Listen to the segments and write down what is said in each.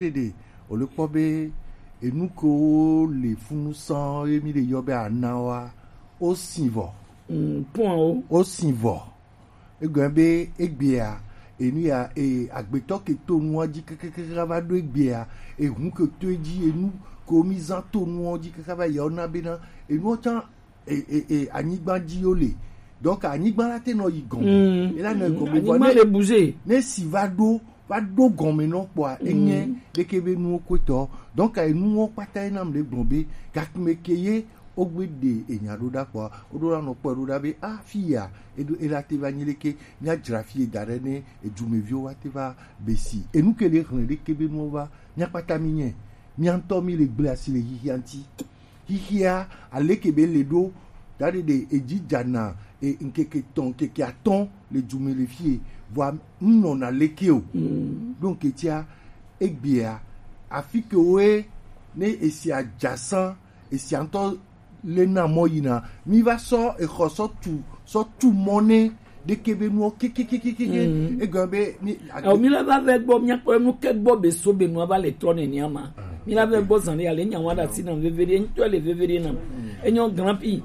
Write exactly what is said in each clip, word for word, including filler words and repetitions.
Ɖeɖe, o le kpɔ be enu kewo le funu sɔn ye mi le yɔ be ana wa, o sin vɔ. Mm, pɔn o. O sin vɔ. Egɔn be egbea, enu ya, e, agbetɔ ke to nua dzi kekekeke va ɖo egbea, ehun ke to edzi, enu ke mi zã to nua dzi kaka va yi, ona bena, enua tsã, e, e, e, anyigba dzi yo le. Donc, anyigba la te nɔ yi gɔme. Mm. E la nɔ yi gɔme. Anyigba le bouger. Ne si va ɖo, va ɖo gɔme nɔ kpɔa, enye ɖeke be nuwo kpetɔ. Donc, enuwo kpata ye nam le gblɔ be, gakme ke ye, wogbe ɖe enya ɖo ɖa kpɔa, woɖo la nɔ kpɔe ɖo ɖa be, ah, fi ya, eɖo, ela te va nyi leke, mia dzra fi ye da ɖe ne, edumeviwo wa te va be si. Enu ke le hlẽ ɖeke be nuwo va, mia kpata mi nye, mia ŋutɔ mi le gble asi le xixia ŋuti. Xixia, aleke be le ɖo, da ɖe ɖe edzi dzana, e, ŋkeke tɔn, ŋkeke atɔn le du me le fie, vɔa ŋnɔna leke o. Mm. Ɖo ŋketia, egbea, afi ke woe, ne esia dza sã, esia ŋutɔ le na mɔ yina. Mi va sɔ exɔ sɔ tu, sɔ tu mɔ ne ɖeke be nuwo kekekekeke. Mm. Egɔme be mi Awo mi la va vɛ gbɔ, mia kpɔ enu ke gbɔ be so be nua va le trɔ nenia ma. Mi la vɛ gbɔ zan ya le nya wa da si na vevere, ŋutɔ le vevere na. Enyo grand pi.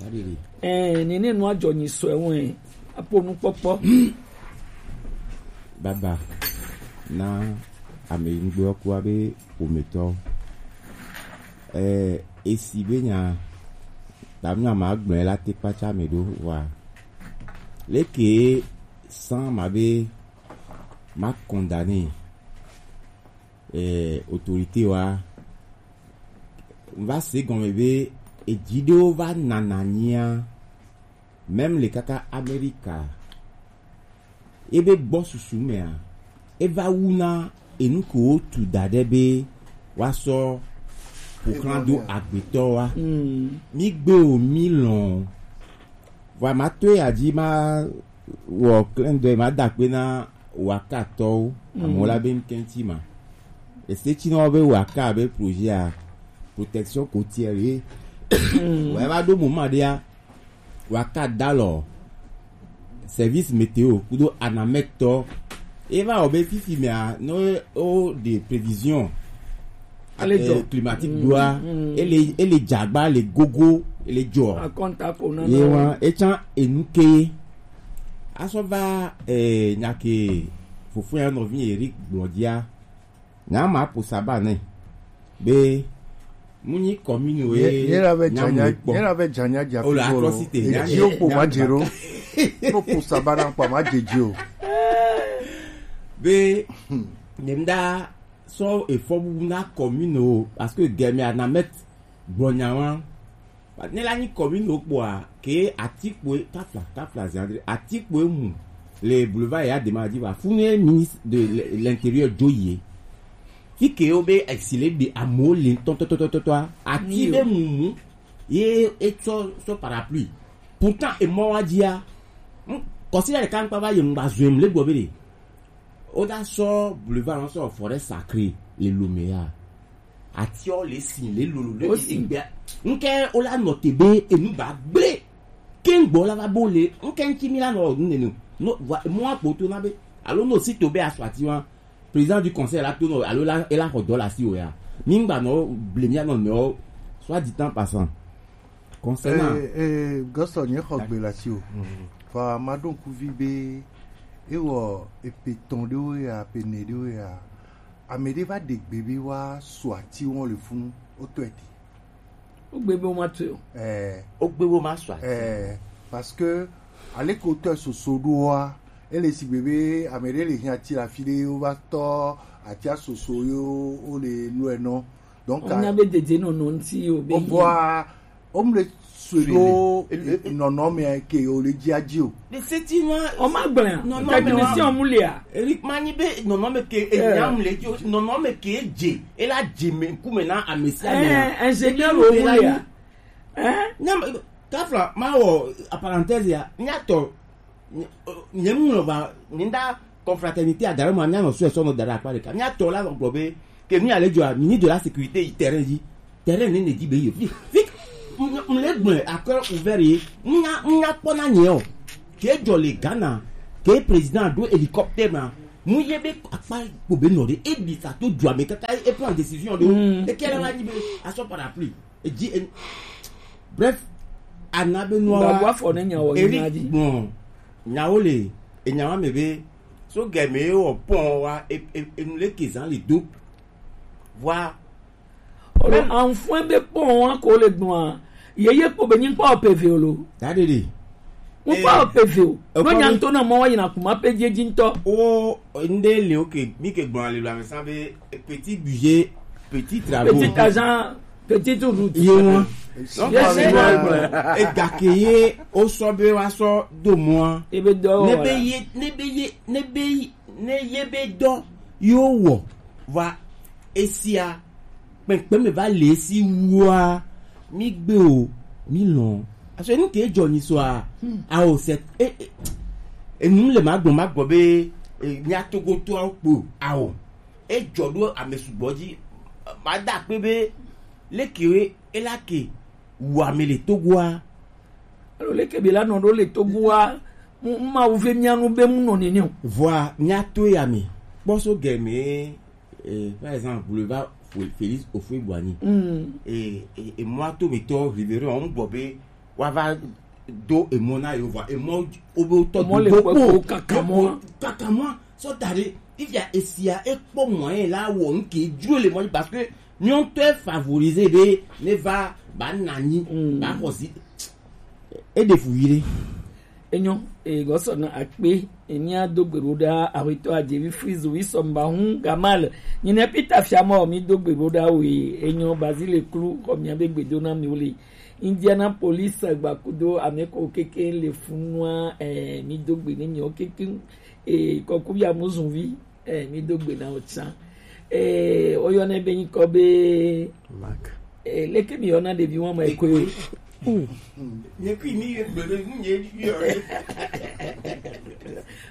Adede. Eh, nene nua dzɔ nyi sɔe wɛ. Apo nu kpɔkpɔ. Baba na ame yi ŋgbe ku abe ometɔ. Eh, esi be nya, ta mi ama gblɔe la te kpatsa me ɖo wa. Leke san ma be ma condamner, eh, autorité wa. Va se gɔme be edzi ɖewo va nana nyia, même le kaka Amerika, ebe gbɔ susu mea, eva wu na enu ke wotu da ɖe be woasɔ ƒoxlã do agbetɔ wa. Mm. Mi gbe o, mi lɔn o. Vɔa ma to ya dzi ma wɔ clin d'œil ma da akpe na Waka tɔwo, mm, amewo la be ŋkɛntsi ma. Ese tsi na wo be Waka be projet a, protection côtière ye. Mm. Vɔa eva ɖo moment ɖea, Waka da lɔ service météo kudo Anamɛtɔ. Eva wɔ be fifi mea, no o de prévision, ele eh, climatique, mm, doa, mm, ele, ele dzagba le gogo, ele dzɔ. Akɔnta ko na ye na wa, etsa enu ke. Asɔ va, eh, nya ke fofo ya nɔvi Eric gblɔ dzia. Nya ma po saba ne. Be, mu nyi commune we. Ye, ye la ve nya dzanya, mu kpɔ. Ye la ve dzanya dza. O la fi atrocité, e nya, dzi o kpo nya ma dze ɖo. Kpo po saba na kpɔ ma dze dzi o. Be, hmm, dem da sɔ efɔ bubu na commune o, parce que gɛmɛ Anamɛtɔ gblɔ nya wa. Ne la nyi commune o kpɔa, ke atikpoe, tafla, tafla, zandre, atikpoe mu le boulevard ya dema di va. Funu ministre de l-, l'intérieur dzo ye. Fi ke o be exilé de amewo le tɔtɔtɔtɔtɔa, ati be mumu ye etsɔ sɔ parapluie. Pourtant, emɔ wa dzia, mm, kɔsi la ɖeka ŋkpa va ye ŋgba zɔe mu le gbɔ be ɖe. O da sɔ boulevard, sɔ forêt sacrée le Lomé ya. Atiɔ le si le lolo le egbea. Ŋkɛ o la nɔ te be enu ba gble. Ke ŋgbɔ la va bo le, ŋkɛ ŋki mi la nɔ nu nenu. No, va, mo akpo to na be. Alo no si to be asɔ ati wa. Président du conseil la to no, alo la, e la xɔ dɔ la si o ya. Mi ŋgba nɔ ble mi anɔ nɔ, soit dit en passant. Concernant. Eh, eh, Gɔsɔ, nye xɔ gbe la si o. Mhm. Fa ma ɖo ŋkuvi be, ewɔ epe tɔn ɖewo ya, pe ne ɖewo ya. Ame ɖe va ɖe gbe be wa sɔ ati wɔn le funu, o tɔ eti. O gbe be wo ma tɔ o. Eh. O gbe wo ma sɔ ati. Eh, parce que, ale ko tɔ soso ɖoa, ele si gbe be, ame ɖe le hiã ti la fi ɖe, wo va tɔ atia soso yo, wo le lɔe nɔ. Donc, o nya be dede nɔ nɔ ŋti yo be. O vɔa, o mu le sue ɖo nɔnɔme ke o le dzia dzi o. Le seti nua. O ma gblẽ. Nɔnɔme technicien wa mu lia. Eric ma nyi be nɔnɔme ke e nyam le dzi o. Nɔnɔme ke e dze. E la dze me ŋkume na ame sia ame. Eh, ingénieur o mu lia. Eh? Nyam, tafla, ma wɔ, a parenthèse ya, nya tɔ, nye, nye ŋlɔ va, nye da confraternité a dare ma, mia nɔ sue sɔ nɔ da ɖe akpa ɖeka. Mia tɔ la gblɔ be, ke nu ya le dzɔa, ministre de la sécurité yi terrain dzi. Terrain ne ne dzi be yi. Fi, fi, m, m le gblɔe, à cœur ouvert ye. Nya, nya kpɔ na nye o. Ke dzɔ le Ghana, ke président do hélicoptère ma. Mu ye be akpa kpo be nɔ ɖe, e ɖi sa to dua me kaka, e prend décision ɖe. Mm. E kɛ la va nyi be a sɔ parapluie. E dzi e, bref, ana be nua wa. Gago afɔ ne nya wɔ Eric nya dzi. Bon, nyawo le, e nyawa me be, so gɛ me wɔ pɔn wa, e, e, e nu le ke zan le do. Vɔa, Olo anfue be kpɔ wa ko le gbɔn a. Ye ye kpɔ be nyi kpɔ peve o lo. Dadede. Mo kpɔ peve o. No nya nto na mo wa yina kuma pe je ji nto. O nde le oke mi ke gbɔn le lo ame sa be petit budget, petit travaux. Petit argent, petite route. Ye wọn. Yes, wọn. E gake ye o sɔ be wa sɔ do mo a. Ebe dɔ ne be ye ne be ye ne be ne ye be dɔ yo wɔ. Va esia kpɛnkpɛn me va le esi wua, mi gbe o, mi lɔn. Aso enu ke jɔ nyi soa, ao se e e enu le ma gbɔ ma gbɔ be e, mia Togo to ao kpo ao e jɔ ɖo ame sugbɔ dzi. Ma da akpe be leke e la ke wu ame le Togoa. Alo leke be la nɔ ɖo le Togoa, mu ma wu ve mia nu be mu nɔ nene o. Vɔa mia to ya me kpɔ so gɛ me. Eh, par exemple, boulevard Fo- Félix Houphouët-Boigny. Mm. Et, et, et moi, tout mes torts, révérend, on bobe, on va do et mon aïe, on va, et moi, au bout, tout Mɔ le kpɔ ko kaka mɔ. Kaka mɔ, so tare, il y a, et s'il y a, et pour moi, là, où on qui joue les moyens, parce que nous, on te favorisé, be, ne va, ba, nani, Mm. ba, aussi. E de fou, il est. Enyo, e gɔsɔ na akpe, e mia do gbe ɖo ɖa, awetɔ Adjevi Frizu, wi sɔmba hun, Gamal, nyine Peter Fiamɔ, mi do gbe ɖo ɖa, we, enyo, Bazile Klu, xɔ mia be gbe do na mi wo le. Indianapolis, gbakudo, ame ko keke le funua, eh, mi do gbe ne mi o keke, eh, kɔku ya muzunvi. Eh, mi do gbe na wo tsã. Eh, woyɔnɛ be nyikɔ be Mark. Eh, leke mi yɔna ɖevi wɔme ekoe? Ekoe. Nye kui mi ye gbe ɖe nu nye yɔ ɖe.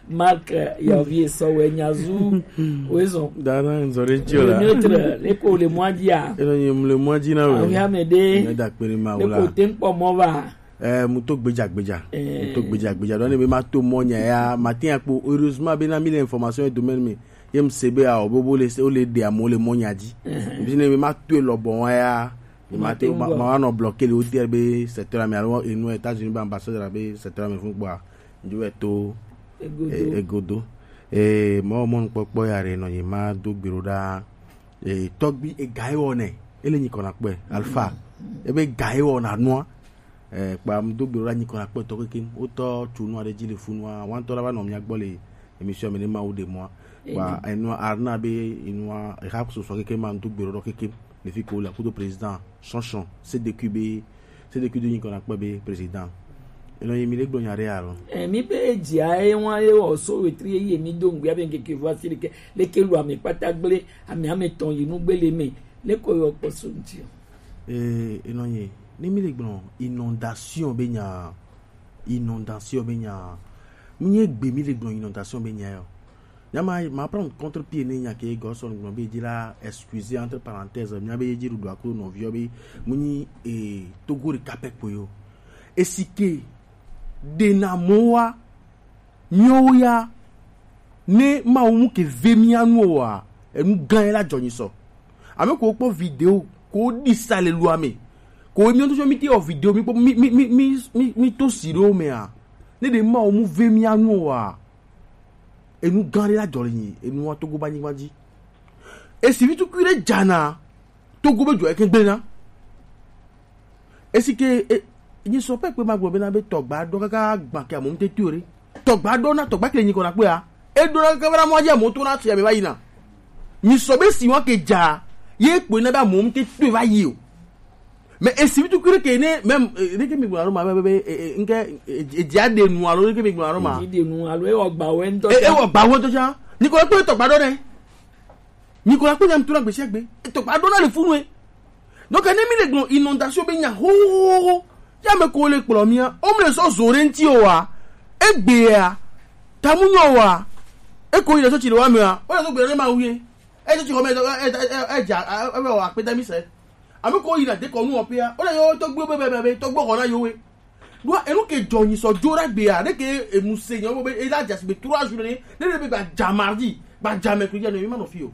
Mark, eh, ya vi esɔ wɛ nyazu. Wezɔn. Dana nzɔ ɖe dzi o la. Le neutre, leke wo le mɔa dzia? Eno nye mle mɔa dzi na we. Awi ame ɖe. Ne da kpe ɖe ma wo la. Leke wo te ŋkpɔ mɔ va? Eh, mu to gbedza gbedza. Eh. Mu to gbedza gbedza. Donc, ne be ma to mɔ nya ya, ma te akpo. Heureusement, be na mi le information et domaine me. Ye m se be a o bobo le se o le de amo le mɔ nya dzi. Eh. Bi ne be ma to lɔ bon wa ya. Ma te ma ma no bloquer le hôtel be secteur mi alo enu États-Unis be ambassadeur be secteur mi fun gba. Ndu e to Egodo. Eh, egodo. Eh, mo mo kpɔkpɔ ya re no ye ma do gbero da. Eh, tɔgbi e ga e wɔ nɛ. Ele nyi kɔna kpɛ. Alpha. Ebe ga e wɔ na nua. Eh, kpa m do gbero la nyi kɔna kpɛtɔ kekem. Wotɔ tso nu aɖe dzi le funua. Wantɔ la va nɔ mia gbɔ le émission me ne Mawu ɖe mɔa. Kpa enua arna be enua eha sosɔ kekem ma m do gbero ɖɔ kekem. Le fi ko la kudo président Chanchon C D Q be C D Q do nyi kɔna kpɛ be président. Enɔ yi mi le gblɔ nya ɖe alo. Eh, mi be dzia ye wa ye wɔ so wetri ye mi do ŋgbia be ŋkeke vɔ asi ɖeke leke lu ame kpata gble ame ame tɔn yi nu gbele me leke yɔ kpɔ so ŋti o. Eh, enɔ yi ne mi le gblɔ inondation be nya inondation be nya. Mi nye gbe mi le gblɔ inondation be nya yo. Nya ma ma prendre contre pied ne nya ke Godson gblɔ be dzi la excusez entre parenthèses mia be dzi ɖuɖu aku nɔviɔ be mu nyi eh, Togo ɖeka pɛ kpoe yo. Esi ke ɖena mɔ wa miawo ya ne Mawu mu ke ve mia nu oa enu gã ye la dzɔ nyi sɔ. Ame ko kpɔ video ko ɖi sa le lua me ko mi ŋutɔ mi te wɔ video mi kpɔ mi mi mi mi mi mi to si ɖewo mea ne ɖe Mawu mu ve mia nu oa enu gã ɖe la dzɔ le nyi enua Togo ba nyigba dzi. Esi vi tukui ɖe dzana Togo be dzɔ eke gblẽ na. Esi ke e, nyi sɔ pɛ kpe ma gblɔ bena be tɔgba ɖɔ kaka gbã ke amewo ŋute tui o ɖe. Tɔgba ɖɔ na tɔgba ke le nyi kɔ na kpea. E ɖo na kaka bena mɔa dzi amewo to na sia me va yina. Nyi sɔ be si wa ke dza ye kpoe na be amewo ŋute tui va yi o. Mais esi vitu kure ke ne même eh, ne ke mi gblɔ ma be be eh, eh, nke eh, eh, dia de nu alo ne ke mi gblɔ ma. Di de nu alo e wɔ gba wɛ ŋutɔ. E e wɔ gba wɛ ŋutɔ tsã. Nyi kɔ na kpɔ tɔgba ɖɔ nɛ. Nyi kɔ na kpɔ nyam tu na gbesi agbe. Tɔgba ɖɔ na le funu e. Donc ne mi le gblɔ inondation be nya ho ho ho ho. Ya me ko le kplɔ mia. O mi le sɔ zo ɖe ŋti o wa. Egbe ya. Tamu nyɔ wa. E ko yi le sɔ tsi le wa me wa. O le sɔ gbe ɖe ma wu ye. E sɔ tsi xɔ me e e e e dza e e wɔ akpe da mi se. Ame ko yina dekɔnu wɔƒea, wole yewo tɔgbuiwo be, be, be, be tɔgbuiwo xɔna yewoe. Ɖoa enu ke dzɔ nyi sɔ dzo ɖa gbea, ne ke enu se nyawo be ela dze asigbe trois jours ne, ne ne be gba dza mardi, Gbadza me ko ya no, mi ma nɔ fi o.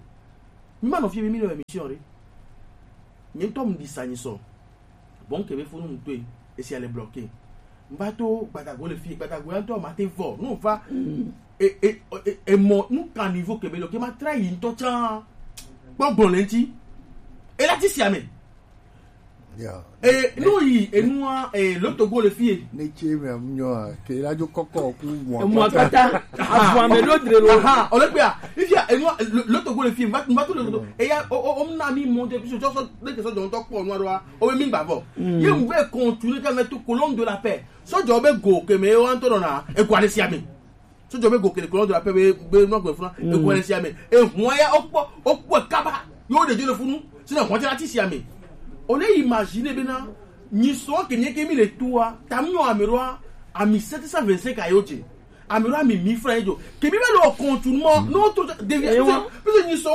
Mi ma nɔ fi, mi mi nɔ émission re. Mi ŋutɔ mu di sa nyi sɔ. Bon, ke be funu mu toe, esi ale bloqué. Mi va to Gbadago le fi, Gbadago ya ŋutɔ ma te vɔ. No va. E, e, e, e mɔ, nu kan niveau ke be lo, ke ma tra yi ŋutɔ tsan. Kpɔ gbɔn le ŋuti. E la ti si ame. Ya. E, no yi, enua, e, lo to go le fie. Ne tse me am nyo a, ke la jo kɔkɔ ku mo. Mo akpata. Avu ame ɖo dre lo. Aha, ole kpea. Ifia, enua, lo, lo to go le fie. Mba, mba to le to. Eya, o, o, o, na mi mo de, puisque so, so, de ke so jon to kpɔ nua ɖoa. O be mi gba vɔ. Ye mu ve continue ka me to colonne de la paix. So jo be go ke me o anto na, e kwa le si ame. So jo be go kele kolon de la paix be, be no gbe funa. E ko le si ame. E hwa ya okpo, okpo kaba. Yo de jo le funu. Si na hwa ti la ti si ame. O le imaginer be na, ni so ke ni ke mi le tua, tam yo ame ro a, ami sept cent vingt-cinq ayo je. Ame ro ami mille francs jo. Ke bi be lo continue mo, no to déviation. Parce que ni so,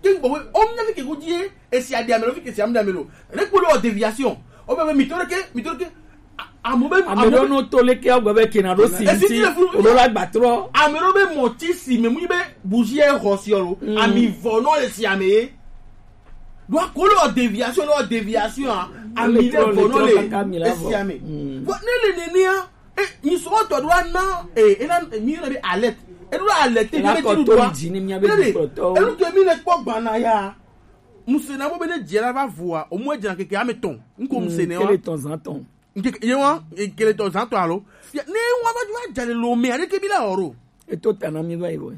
ke gbo we, o mi na fi ke go die, e si ade ame ro fi ke si ame ro. Le ko lo déviation. O be, be mi to le ke, mi to le ke. Amo be, ame ɖewo no to leke agbe be kena ɖo si esi ŋuti ti le funu o ɖo la gbatrɔ. Ame ɖewo be mɔti si me mu be bougie e xɔ si ɔlo. Ami vɔ nɔ le si ame ye. Do akolo déviation, no déviation a. Ami le vɔ nɔ le esi ame. Vɔ ne le nenea, e, mi so tɔ do ana, e, e na, mi na be alerte. E do alerte, la be ko to di ni mi be ko to. E lu ke mi le kpɔ gbana ya. Muse na mo be ne jela va vua, o mo jela keke ame tɔn. Nko muse ne wa. Kele tɔn zan tɔn. Nke ye wa, e kele to zanto alo. Ya, ne wa ba ju ajale lo me, are ke bi la oro. E to tana mi ba iwe.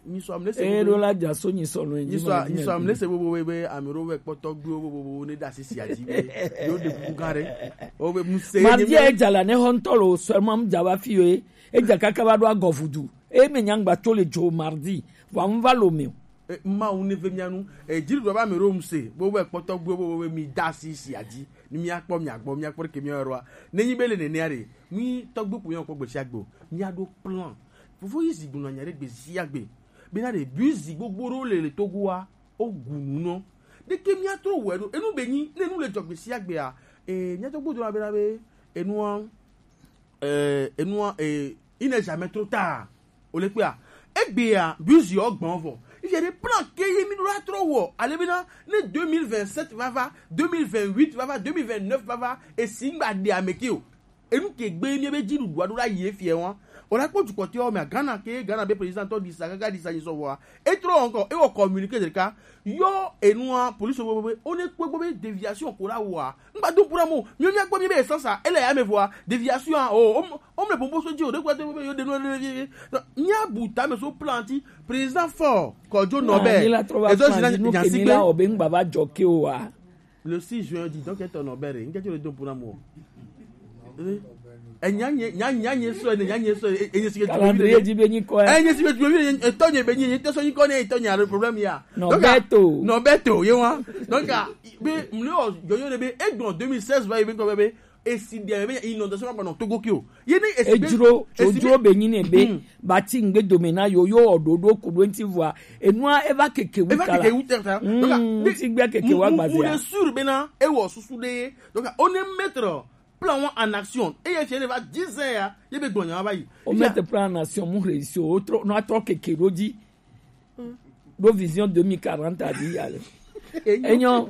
Ni so amle se. E lo la ja so ni so lo. Ni so, ni so amle se bo bo be, be amero we kpoto gbe bo bo bo ne da sisi aji be. Yo de ku gare. O be mu se. Mardi e jala ne hontolo seulement m jaba fi yo e. E ja kaka ba do agovudu. E me nyangba to le jo mardi. Wa m va lo me. E, Mawu ne ve mia nu. E, jiri do ba amero mu se. Bo we kpoto gbe bo bo be mi da sisi aji. Ni míakpɔ mia gbɔ, míakpɔ ɖeke míawo ɖoa. Nenyi be le nenea ɖe, mí tɔgbe ko míakpɔ gbe sia gbe o. Míaɖo plan. Fofo yi zi gblɔ nya ɖe gbe sia gbe. Bena ɖe bisi gbogbo ɖewo le, le Togoa, wo gu nu nɔ. Ɖeke míatrɔ wɔe ɖo. Enu be nyi, ne nu le dzɔ gbe sia gbea, e, míatɔ gbodo na bena be, enua, e, enua, e, il n'est jamais trop tard. O le kpea, egbea, bisi wo gbɔn vɔ. Ifia ɖe plan ke ye mi ɖo la trɔ wɔ. Ale bena, ne deux mille vingt-sept va va, deux mille vingt-huit va va, deux mille vingt-neuf va va, esi ŋgba ɖe ame ke o. Enu ke gbe mi be dzi ɖuɖua ɖo la yi efia wa. O la kpɔ dukɔtɔ me Ghana ke, Ghana be président tɔ disa kaka disa nyi sɔ vɔa. E trɔ encore, e wɔ communiqué ɖeka. Yo, enua, police wo be, wo ne kpɔ gbɔ be déviation ko la wɔa. Ŋgba do kura mo, mi mi akpɔ mi be essence a, ele ya me vɔa, déviation a, o, o, o me pompo so dzi o, de kwa de be yo de no de. Nya buta me so planti, président fort, Kojo Norbert. Ezo si na nya sigbe. O be ŋgba va jɔ ke o wa. Le six juin, dis donc, eto Norbert, ŋke tso le do puna mo. Eh? Enye, nye, nye, nye, nye so, nye, nye so, e, enye si ke tu. Calendrier di be nyi ko, eh. Enye si ke tu, e, eto nye be nyi, eto so nyi ko ne, eto nye, le problème ya. Donc, Norberto. Norberto, ye wa. Donc, ah, be, mle o, yo, yo, ne be, e gbɔn deux mille seize va, e be, ko be, e si dia, be, inondation, ba, non, Togo kio. Ye ne, e si be, ejro, e si be, ojro be nyi ne be, hmm, bati ŋgbe dome na yo, yo, ododo, kudo enti vɔa. Enua, eva keke wu kala. Eva keke wu tɛta. Donc, ah, hmm, be, si gbe keke mu, wa mu, gbazia. Mu le sûr, be na, e wɔ susu de, donc, ah, on est maître. Plan wa en action. Eye fie ne va dix ans ya, ye be gbɔnya va yi. O mettre plan en action, mu réussir, o trɔ, no atrɔ keke ɖo dzi. Ɖo vision deux mille quarante a di ya le. Enyo,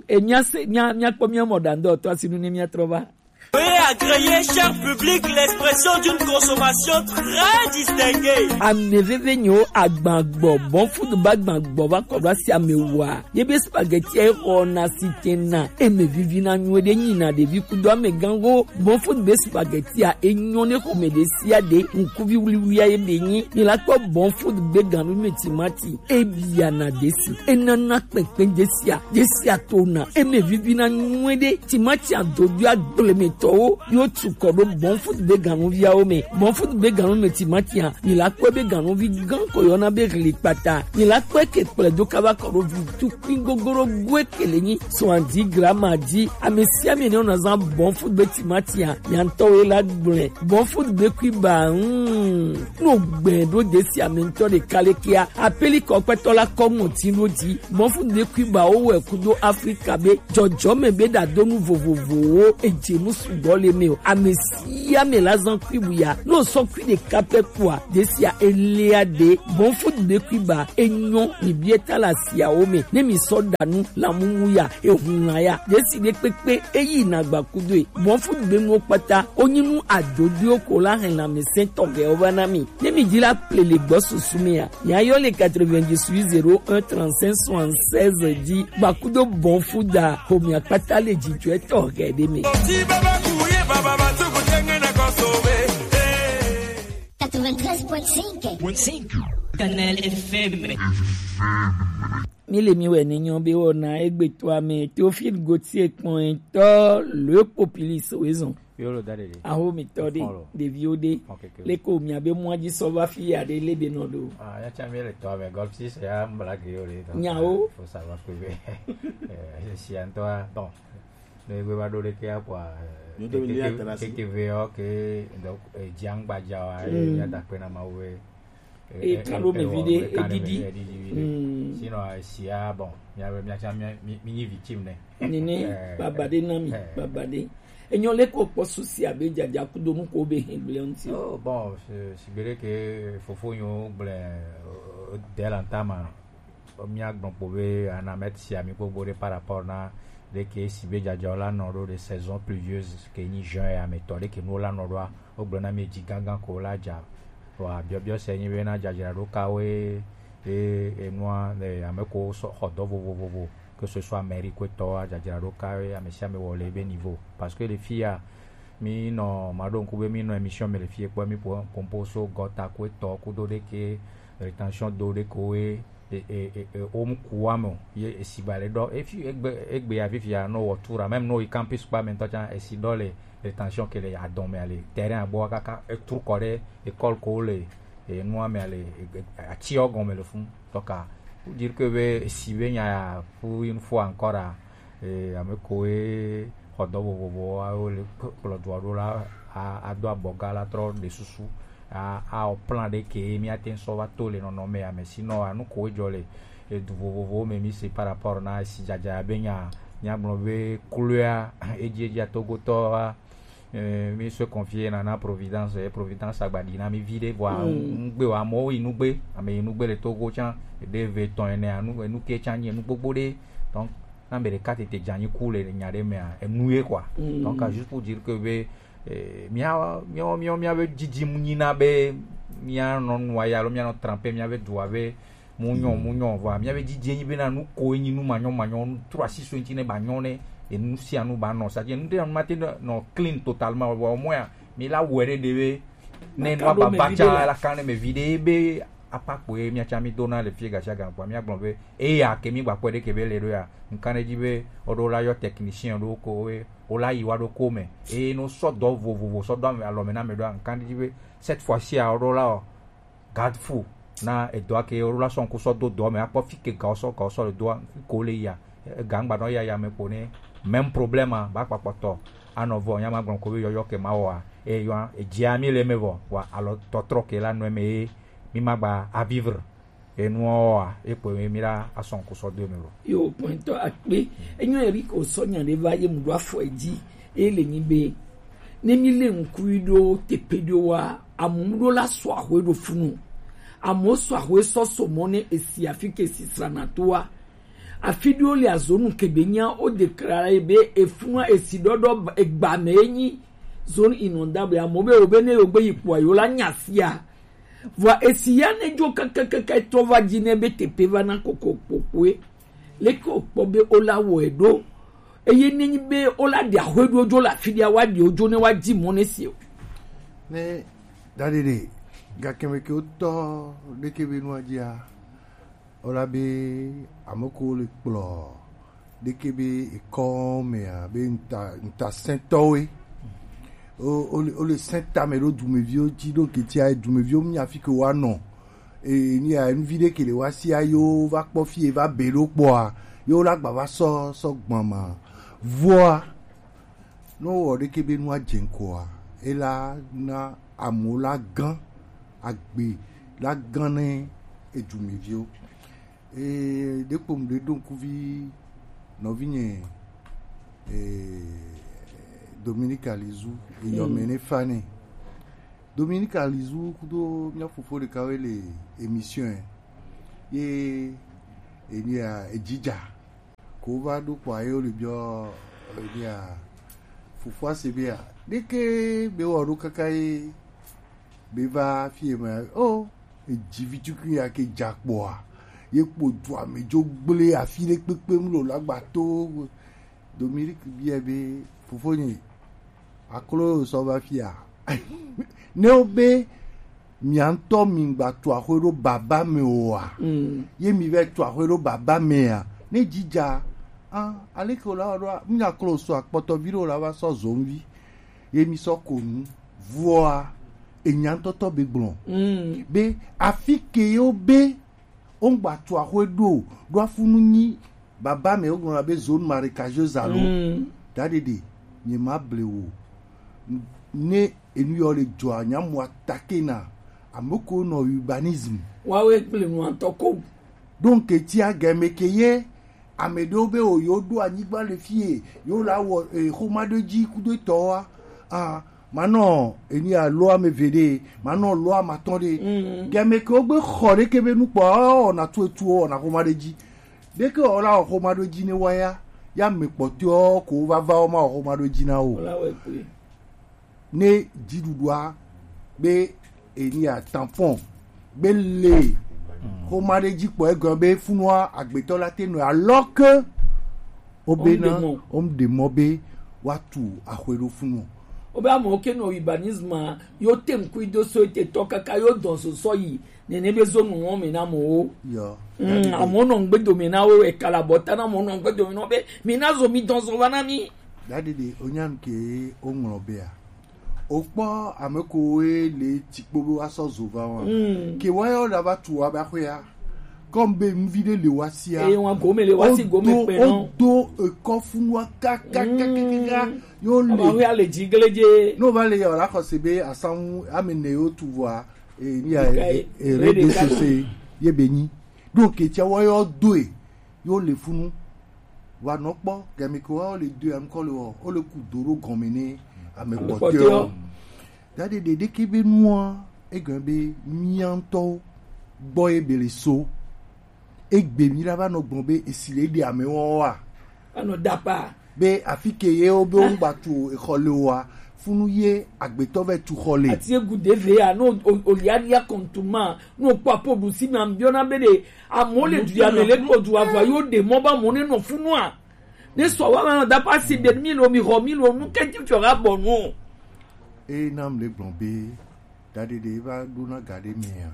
e mia se, mia, mia kpɔ mia mɔ ɖa ŋdɔ tɔ asi nu ne mia trɔ va. Veuillez agréer, cher public, l'expression d'une consommation très distinguée. Ame veve nyo agbagbɔ, bon food ba agbagbɔ va kɔ ɖo asi ame wa. Ye be spaghetti e xɔ na si te na. Eme vivi na nyuie ɖe nyi na ɖevi kudo amegãwo. Bon food be spaghetti a enyo ne xɔme ɖe sia ɖe. Ŋkuvi wuliwulia ye be nyi. Mi la kpɔ bon food be ganu me timati. E bia na desi. E nana kpɛnkpɛn desia. Desia to na. Eme vivi na nyuie ɖe. Timati a dodo agble me tɔwo. Yo tu kɔ ɖo bon food be ganuviawo me. Bon food be ganu me timati a. Mi la kpɔ be ganuvi gã ko yɔna be hli kpata. Mi la kpɔ ke kplɛ do kaba kɔ ɖo vi tukui gogoro goe ke le nyi. Soixante-dix grammes a di. Ame sia ame ne wona zan bon food be timati a. Mia ŋutɔ wo la gblɔe. Bon food be kui ba, mm. No gbɛ ɖo desi ame ŋutɔ ɖeka le kia. Apeli kɔ kpɛtɔ la kɔ ŋɔti ɖo di. Bon food be kui ba wo wɛ kudo Afrika be. Jɔjɔme be ɖadonu vovovowo. Edze nu sugbɔ le eme o. Ame sia ame la zan kui bu ya. No sɔ kui ɖeka pɛ kua, ɖe sia elia ɖe. Bɔn food be kui ba, enyɔ mi bie ta la sia wo me. Ne mi sɔ ɖa nu la mumu ya, ehun la ya. Ɖe si ɖe kpekpe eyi na gba kudo e. Bɔn food be nuwo kpata, o nyi nu adodo ko la hɛn la me sɛn tɔgɛ o ba na mi. Ne mi di la ple le gbɔ susu me ya. Mia yɔ le quatre-vingt-dix-huit zéro un trente-cinq soixante-seize dzi. Gba kudo bɔn food da. Ho mia kpata le dzidzɔ etɔ hɛ ɖe me. Quatre-vingt-treize point cinq. Kanal F M. Mi le mi wɛ ne nyɔ be wɔna egbe to ame Théophile Gauthier kpɔn etɔ le populiste wezɔn. Yolo da ɖeɖe. Aho mi tɔ ɖe, ɖeviwo ɖe. Leko mia be mua dzi sɔ va fi ya ɖe le be nɔ ɖo. Ah, ya tsa mi le tɔ ame gɔl si se ya mbla ge yo le. Nyawo. Faut savoir que be. Eh, si antɔ bon. Ne gbe va ɖo ɖe ke akwa. Keke ve ok. Donc, eh, dzi angba dza wa, eh, ya da pe na ma we. E kan ɖo me vi ɖe, e didi. Sinon, eh, sia, bon, mia be mia tsa mi mi nyi victime ne. Nene, baba ɖe na mi, baba ɖe. Enyɔ le ko kpɔ susi abe dzadza kudo nu ko be hin gblẽ ŋuti. Oh, bon, si gbe ɖe ke fofo nyo gblẽ, eh, dès l'entame, mia gblɔ kpo be ana met sia mi gbogbo ɖe par rapport na ɖe ke si be dzadza la nɔ ɖo de saison pluvieuse ke nyi juin ya me tɔ ɖe ke nuwo la nɔ ɖoa, wo gblɔ na mi dzi gangan ko la dza. Wa biɔbiɔ se nyi be na dzadzraɖo kawoe ye enua, eh, ame ko sɔ xɔ dɔ vovovovo, que ce soit mairie ko etɔ, dzadzraɖo kawoe ame sia ame wɔ le ebe niveau. Parce que le fi ya, mi nɔ, ma ɖo ŋku be mi nɔ émission me le fi ye kpɔ, mi po, pompo so gɔta ko etɔ, kudo ɖe ke, rétention do ɖe ko we, e, e, e, e, o mu ku wa me o, ye esi ba le ɖɔ, e fi, egbe, egbe ya fifi ya, no wɔ tour, même no yi campus kpa me ŋutɔ tsa, esi ɖɔ le rétention ke le adɔn me ale, terrain agbɔ kaka, e tour kɔ ɖe école ko le, e nua me ale, e, e, ati ɔ gɔme le fun. Donc, pour dire que be, esi be nya ya, pour une fois encore, a, e, ame ko e xɔ dɔ vovovo, a, wo le kplɔ dua ɖo la, a, a do abɔga la trɔ ɖe susu, a, a o plan ɖe ke mi ate ŋu sɔ va to le nɔnɔme ya me, sinon, a, nu ko e dzɔ le edu vovovowo me mi se par rapport na esi dzadza be nya, nya gblɔ be couleur, edzi, edzi atogotɔ, a, eh, mi se confier na, na Providence, eh, Providence agba ɖi na mi vi ɖe, vɔa, mm, ŋgbe wa, amewo yi nugbe, ame yi nugbe le Togo tsã, ɖe ve tɔn ene, anu, enu ke tsã nyi enu gbogbo ɖe. Donc, na ame ɖeka tete dze anyi ku le nya ɖe mea, enu ye quoi. Mm. Donc, juste pour dire que be, eh, mía, mía, mía, mía be dzidzim nyina be mía nɔ nua ya alo mía nɔ tremper mía be dua be mu nyɔ, mu nyɔ, vɔa mía be dzidzi nyi bena nu ko enyi nu manyɔ manyɔ, nu trɔ asi so ŋuti ne ba nyɔ ne enu sia nu ba nɔ. C'est-à-dire nu ɖe nu mate nɔ clean totalement, vɔa au moins ya mi la wɔe ɖe ɖe be ne nua ba va tsa la kan ne me vi ɖe be apa kpoe mía tsa mi dona le fie gasiaga kpoa mía gblɔ be eya ke mi gba kpɔe ɖe ke be le ɖo ya, ŋkan ɖe dzi be woɖo la yɔ technicien ɖo ko we, wo la yi wa ɖo ko me eye no sɔ dɔ vovovo sɔ dɔ alɔ me na me ɖoa, ŋkan ɖe dzi be cette fois-ci a woɖo la o garde fou na edɔa ke woɖo la sɔ ŋku sɔ do dɔ me akpɔ fi ke gawo sɔ gawo sɔ le doa ko le ya. Ega ŋgba nɔ ya ya me kpo ne même problème a ba kpakpɔtɔ anɔ vɔ nya ma gblɔ ko be yɔyɔ ke ma wɔa, e yɔa edzia mi le me vɔ wa alɔ tɔtrɔ ke la nɔ me ye mi ma gba a vivre. Enuawoa, ekpɔe mi la asɔ ŋku sɔ do eme lo. Yo, pɔntɔ akpe. Enyo Eric osɔ nya ɖe va ye mu ɖo afɔ edzi. Ele nyi be, ne mi le ŋku yi ɖo teƒe ɖo wa, amu ɖo la sɔ ahwe ɖo funu. Amu sɔ ahwe sɔ so mɔ ne esi afi ke si srana to wa. Afi ɖo le azonu ke be nya o déclarer be efunua esi ɖɔɖɔ egba me enyi zone inondable. Amu be o be ne yo gbe yi kpɔa yo la nya sia. Vɔa esi ya ne dzo kakakaka trɔ va dzi ne be teƒe va na koko kpokpoe. Leke wokpɔ be wola wɔe ɖo? Eye nenyi be wola ɖe ahwe ɖo dzo le afi ɖia, woaɖe wo dzo ne woadzi mɔ ne si o. Ne daɖeɖe gake me ke wotɔ ɖeke be nua dzia, wola be ame ko le kplɔ ɖeke be ekɔ mea be nta ntasɛntɔwoe. O o le o le sɛnta me ɖo dumeviwo dzi ɖo ketia dumeviwo nya fi ke woanɔ. E ni ya nuvi ɖe ke le woasia yo va kpɔ fi e va be ɖo kpɔa yo la gba va sɔ sɔ gbɔn ma. Vɔa ne wowɔ ɖeke be nua dze ŋkɔa ela na amewo la gã agbe la gã ne edumeviwo. Ee, ɖekpo ŋɖe ɖo ŋkuvi nɔvinye, ee, Dominique Alizu, eyɔmɛ ne fa nɛ. Dominique Alizu kudo mía fofo ɖeka wɛ le émission yɛ. Ye enia ejija. Ko va ɖo kpɔa ye wole biɔ enia fofoa se bia. Ɖeke be wɔ ɖo kaka ye be va fie ma. Oh, eji vi tukui ya ke ja kpɔa. Ye kpo du ame jo gble afi ɖe kpekpe mu lo lagbato. Dominique bia be fofonye aklo sɔ va fia. Ne wo be mia ŋutɔ mi gba tu axwe ɖo baba me oa? Ye mi va tu axwe ɖo baba mea? Ne jija, ah, aleke wòle awɔ ɖoa? Míaklo so akpɔtɔvi ɖewo la va sɔ zɔnvi. Ye mi sɔ ko nu. Vɔa, enya ŋutɔtɔ be gblɔ. Be afi ke yewo be wogba tu axwe ɖo, ɖo afunu nyi baba me wogblɔna be zone marécageuse alo. Daɖeɖe, nye ma ble wo. Ne enu yɔ le dzɔa, nya mu attaquer na. Ame ko nɔ urbanisme. Wawe kple nua tɔ ko. Donc, etia game ke ye, ame ɖewo be wo yo ɖo anyigba le fie, yo la wɔ, eh, xoma ɖe dzi kudo etɔ wa. Ah, manɔ eni alo ame ve ɖe, manɔ lo amatɔ ɖe. Game ke wo gbe xɔ ɖe ke be nukpɔ, oh, na tu etu, oh, na xoma ɖe dzi. Ɖeke wɔ la wɔ xoma ɖo dzi ne wa ya, ya me kpɔtɔewo ko va va wo ma wɔ xoma ɖo dzi na wo. Wòla wɔ kpe. Ne dziɖuɖua be enia tampon be le xoma ɖe dzi kpɔ egɔme be funua agbetɔ la te nɔ alors que wo be na wo ɖe mɔ be woatu axwe ɖo funu. Wo be amewo ke nɔ urbanisme yo te ŋkui do so ete tɔ kaka yo dɔn so sɔ yi nene be zo nuwo me na amewo. Yɔ. Mm, amewo nɔ ŋgbe dome na wo, ekala bɔ ta na amewo nɔ ŋgbe dome na wo be mi na zo mi dɔn zo va na mi. Dadidi, onyam ke o ŋlɔ bea. O kpɔ ame ko we le tikpo be wa sɔ zo va wa. Mm. Ke wa yɔ da va tu wa ba xwe ya. Comme be mvi de le wa sia. Eye wa gome le wa si gome pe no. O do ekɔ funu wa ka ka ka ka ka. Yo le. Aba xwe ya le dzi gele dze. No va le yɔ la xɔse be asanwu ame ne yo tu vɔa. E, ni a, e, e, réseaux sociaux ye be nyi. Donc, etia wa yɔ do e, yo le funu. Wa nɔ kpɔ, game ke wa le do e, am kɔ le wɔ, o le ku do ɖo gɔme ne ame kpɔtɔewo. Dadidi ɖeke be nua, egɔme be mía ŋutɔwo gbɔ ye be le so. Egbe mi la va nɔ gbɔn be esi le ɖe ame wɔn wa. Anɔ dapa. Be afi ke ye wo be wo gba tu exɔ le wa, funu ye agbetɔ vɛ tu xɔ le. Ati egu de ve ya, no o, o lia lia kɔntuma, no kpɔ apo ɖusi me ambiɔna be ɖe, amewo le du ya me le kpɔ du avɔ yo ɖe mɔ ba mɔ ne nɔ funua. Ne sɔ wa ma nɔ dapa si be mi lo mi xɔ mi lo nu kɛnti fiɔ ga bɔ nu. E nam le gblɔ be, Dadidi va ɖona ga ɖe mea.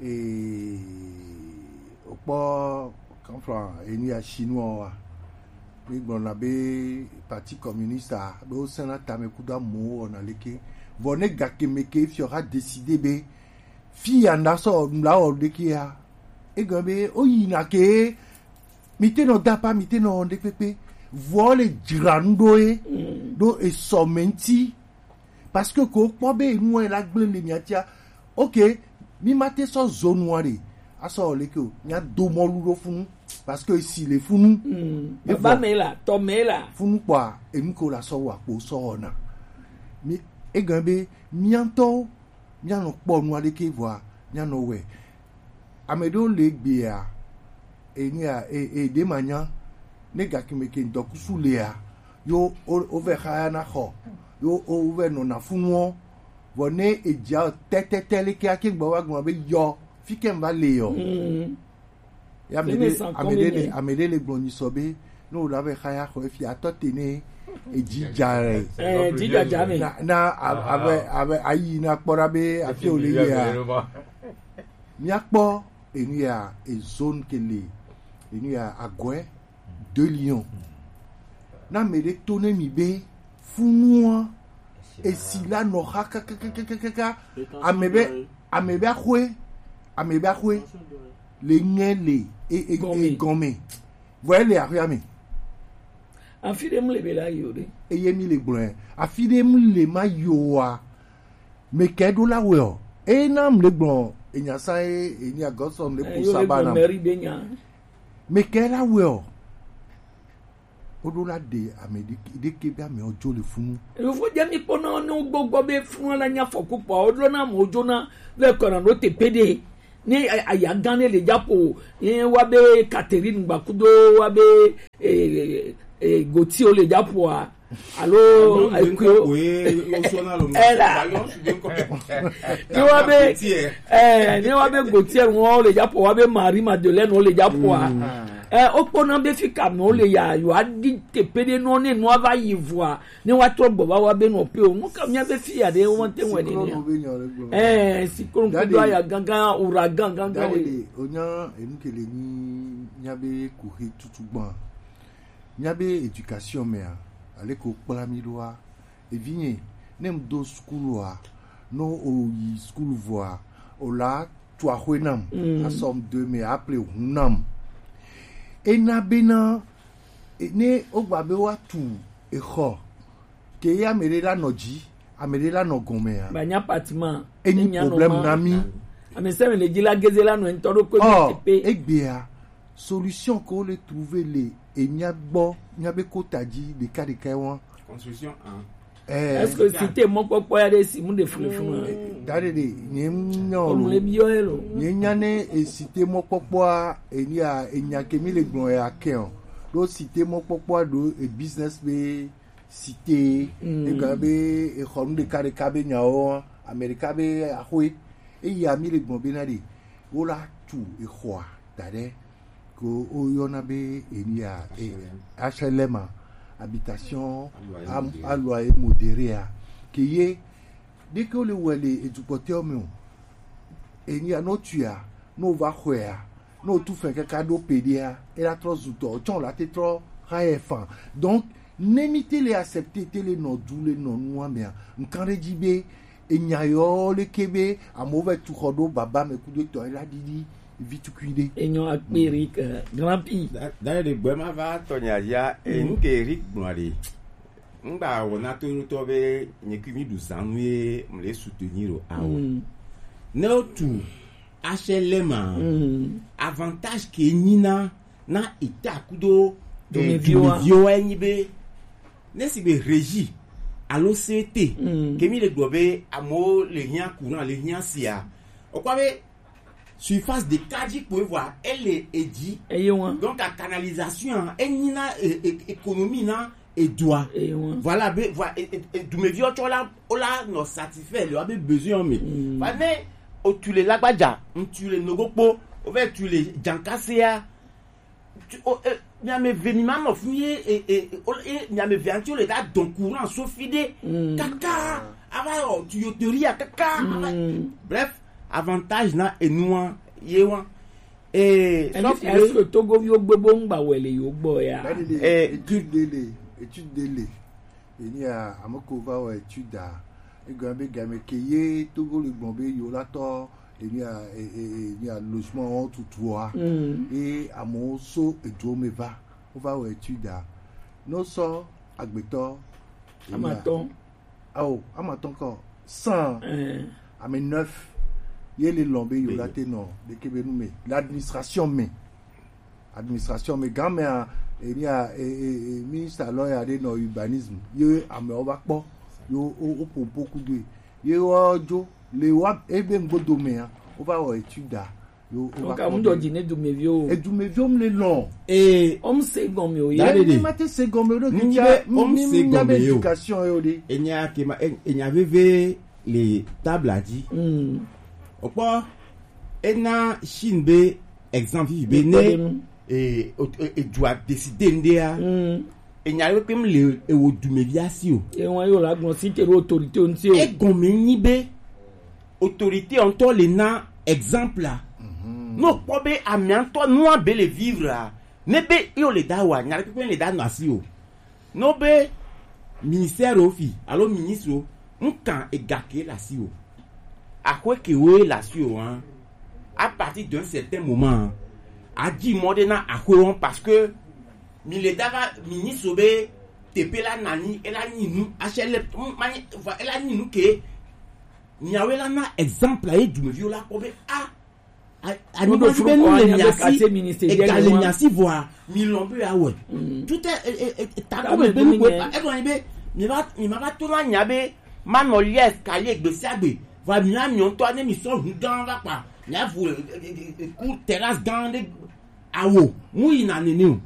Ee, wokpɔ kanflan enu ya Chinois wa. Mi gblɔna be Parti Communiste a, be wosẽna tame kudo amewo wɔna leke. Vɔ ne gakeme ke fiɔ xa décider be fi ya na sɔ nu la wɔ ɖeke ya. Egɔme be woyina ke mi te nɔ dapa, mi te nɔ wɔ ɖekpekpe. Vɔ le dzra nu ɖo ye. Ɖo esɔ me ŋuti. Parce que ko kpɔ be enua la gblẽ le mia tia. Ok, mi ma te sɔ zo nua ɖe. Asɔ leke o, mia do mɔlu ɖo funu. Parce que esi le funu. Mm. Baba me la, tɔ me la. Funu kpɔa, enu ko la sɔ wa kpo sɔ wɔna. Mi, egɔme be, mia ŋutɔwo, mia nɔ kpɔ nua ɖeke vɔa, mia nɔ wɛ. Ame ɖewo le egbea, enu ya, e, e, ɖe ma nya, ne gakeme ke ŋdɔkusu lea, yo, o, o vɛ xaya na xɔ, yo, o vɛ nɔ na funuɔ, vɔ ne edzia tɛtɛtɛ leke ake gbɔ va gblɔ be yɔ, fi ke ŋva le yɔ. Mm. Ya ame ɖe, ame ɖe le, ame ɖe le gblɔ nyi sɔ be, ne wo la vɛ xaya xɔ efi atɔ te ne, edzi dza rɛ. Eh, dzi dza dza me. Na, na, a-, ave, ave, ayi na kpɔ ɖa be afi wo le yea. Míakpɔ enu ya, ezone ke le, enu ya, Agɔɛ de Lion. Na ame ɖe to ne mi be funua, esi la nɔ xa kakakakaka, ame be, ame be axwe, ame be axwe, le ŋɛ le, e, e, e, gɔme. Vɔ ele axwea me. Afi ɖe mu le be la yi o ɖe. Eye mi le gblɔɛ. Afi ɖe mu le ma yi oa. Mekɛ ɖo la wɛ ɔ. Eye na mu le gblɔ enya sa ye enya gɔsɔ mu le ko saba na. Mekɛ la wɛ ɔ. Woɖo la ɖe ame ɖeke ɖeke be amewo dzo le funu. Yovogbe mi kpɔna ne wogbɔgbɔ be funu la nya fɔku kpɔ, woɖo na amewo dzona le kɔna ɖo teƒe ɖe. Ne a- aya gã ne le dzaƒo, ye wa be Catherine Gbakudo wa be eh, eh, Gauthier le dzaƒoa, alo Nyɔnu ɖe ŋkɔ ekuyo. Koe wosɔna le Ela. Bayɔn su ɖe ŋkɔ. Ne wa be Gauthier. Eh, ne wa be Gauthier ŋɔ le dzaƒo, wa be Marie Madeleine le dzaƒoa. Eh, wokpɔna be fi ka me wole ya, yewoaɖi teƒe ɖe nɔ ne nua va yi vɔa, ne woatrɔ gbɔ va wa be nɔ pe o. Nu ka míabe fi ya ɖe womate ŋu wɔe nenia? Siklɔnu be nya le gblɔ. Eh, siklɔnu kudo aya gãgã, ouragan gãgã Dade ɖe. Ɖe, onya enu ke le nyi míabe kuxi tutu gbã. Míabe éducation mea, ale ko kpla mí ɖoa, evinye, ne m do sukulu a, no o yi sukulu vɔa, o la tu axwe nam, asɔ m do me, a ple hu nam. Ena bena, e- ne o gba be wa tu exɔ, ke ye ame ɖe la nɔ dzi, ame ɖe la nɔ gɔmea, Banya appartement. Enyi problème na mí. Ame sɛ me le dzi la geze la nɔ ŋutɔ ɖo ko Ɔ, teƒe. Egbea, solution ko le trouver le emia gbɔ, mia be kota dzi ɖeka ɖeka wa. Construction, hein. Eh, Est-ce que cité mɔkpɔkpɔ ya ɖe si mu ɖe funu funu? Dade ɖe, nye nya o Omle lo. Biɔ ye lo. Nye nya ne e cité mɔkpɔkpɔa, enia, enya ke mi le gblɔ ya ke o. Ɖo cité mɔkpɔkpɔa ɖo e business be cité, ega be exɔ nu ɖeka ɖeka be nyawo, ame ɖeka be axwe. Eya mi le gbɔn be na ɖe, wo la tu exɔa da ɖe, ko wo yɔna be enia, e, H L M a, habitation à loyer modéré a, ke ye, ɖeke wo le wɔ le edukpɔtɔ me o. Enia no tu ya, no va xɔe ya, no tu fɛ kaka ɖo pe ɖia, e la trɔ zu tɔ, tsɔ la te trɔ xa yɛ fan. Donc, ne mi te le accepter, te le nɔ du le nɔ nua mea, nkan ɖe dzi be, enya yɔ le ke be, amewo va tu xɔ ɖo baba me kudo etɔ, e la ɖiɖi vi tukui ɖe. Enyo akpe Eric, eh, grand P. Da, da ɖe gbɛ ma va tɔ nya ya, e nu ke Eric gblɔ ɖe. Ŋgba wɔna to ɖo tɔ be nye kui mi ɖu zanu ye mle soutenir o awo. Mm. Ne o tu H L M a, avantage ke nyi na, na eta kudo, eh, Dumeviwa. Dumeviwa enyi be, ne si be régie alo C T, ke mi le gblɔ be amewo le hiã courant, le hiã sia. Okpɔ be surface ɖeka dzi kpoe vɔa, ele edzi. Eye wa. Donc, a canalisation, enyi na, e, e, économie na edua. Eye wa. Voilà, be, voilà, e, e, e, dumeviwo tsɔ la, o la nɔ satisfait le woabe besoin me. Mm. Va ne o tu le lagbaja, ŋtu le nogokpo, o va tu le jankasea, tu, o, e, miame ve mi ma nɔ fi ye, e, e, e, o, e, miame ve ŋti o le da dɔn courant so fi ɖe. Mm. Kaka, ava yɔ tuyauterie a kaka, ava, bref, avantage na enua, ye wa. Eh, est-ce que Togoviwo gbe bo ŋgba wɛ le yo gbɔ ya? Dade ɖe, eh, étude ɖe le, étude ɖe le. Enia, ame ko va wɔ étude a. Egɔme be game ke ye Togo le gbɔn be yo la tɔ, enia, e, e, e, enia logement wo tutua. Mm. E amewo so edu me va. Wo va wɔ étude a. No sɔ agbetɔ. Enia. Amatɔn. Ao, amatɔn kɔ. Cent. Eh. Ame neuf. Ye le lɔn be yo la te nɔ. Ɖeke be nu me. L'administration me. Administration me, gan mea, enia, e, e, e, ministre lɔ ya ɖe nɔ urbanisme, ye amewo va kpɔ, yo, o, o ƒo ƒo kudo ye, wo dzo le wa ebe ŋgbodo mea, wo va wɔ étude a, yo, wo va Donc, kpɔ amu dɔ be dzi ne dumeviwo. Edumeviwo mu le lɔn. Eh, o mu se gɔme o ye. Dade ɖe. Ne ma te se gɔme o ɖo. Ŋgbe kikia, o mu mi, se mi nya be gɔme o. Éducation yo ɖe. Enya ke ma, e, enya veve le table dzi. Mm. Okpɔ, ena Chine be exemple vivi be ne, e, o, e, e, dua décider ŋɖea, enya ɖe kpekpe mu le ewo dumevi asi o. Ewa yo la gbɔn si te ɖo autorité ŋuti o. Egɔme nyi be autorité ŋutɔ le na exemple a. Ne okpɔ be amea ŋutɔ nua be le vivre a, ne be yo le da wa, nya ɖe kpekpe le da nɔ asi o. No be ministère o fi alo ministre o, ŋkan ega ke le asi o. Axwe ke wo le asi o, hein. À partir d'un certain moment, hein, a dzi mɔ ɖe na axwe wɔn parce que mi le da va ministre o be teƒe la nani, ela nyi nu, H L M, ma nyi, va, ela nyi nu ke. Miawe la na exemple ye dumeviwo la kpɔ be, ah, Anyigba be nu le mia si, ega le mia si vɔa, mi lɔn be ya wɛ. Tout est, e, e, e, ta ko me be nu ko e, e, e, be mi va, mi ma va to na nya be ma nɔ lies kali egbe sia gbe. Vɔa mi na mi ŋutɔ ne mi sɔ hu gã va kpa, mi avu, e, e, e, e, ku terrasse gã ɖe awo mu yi na nene o.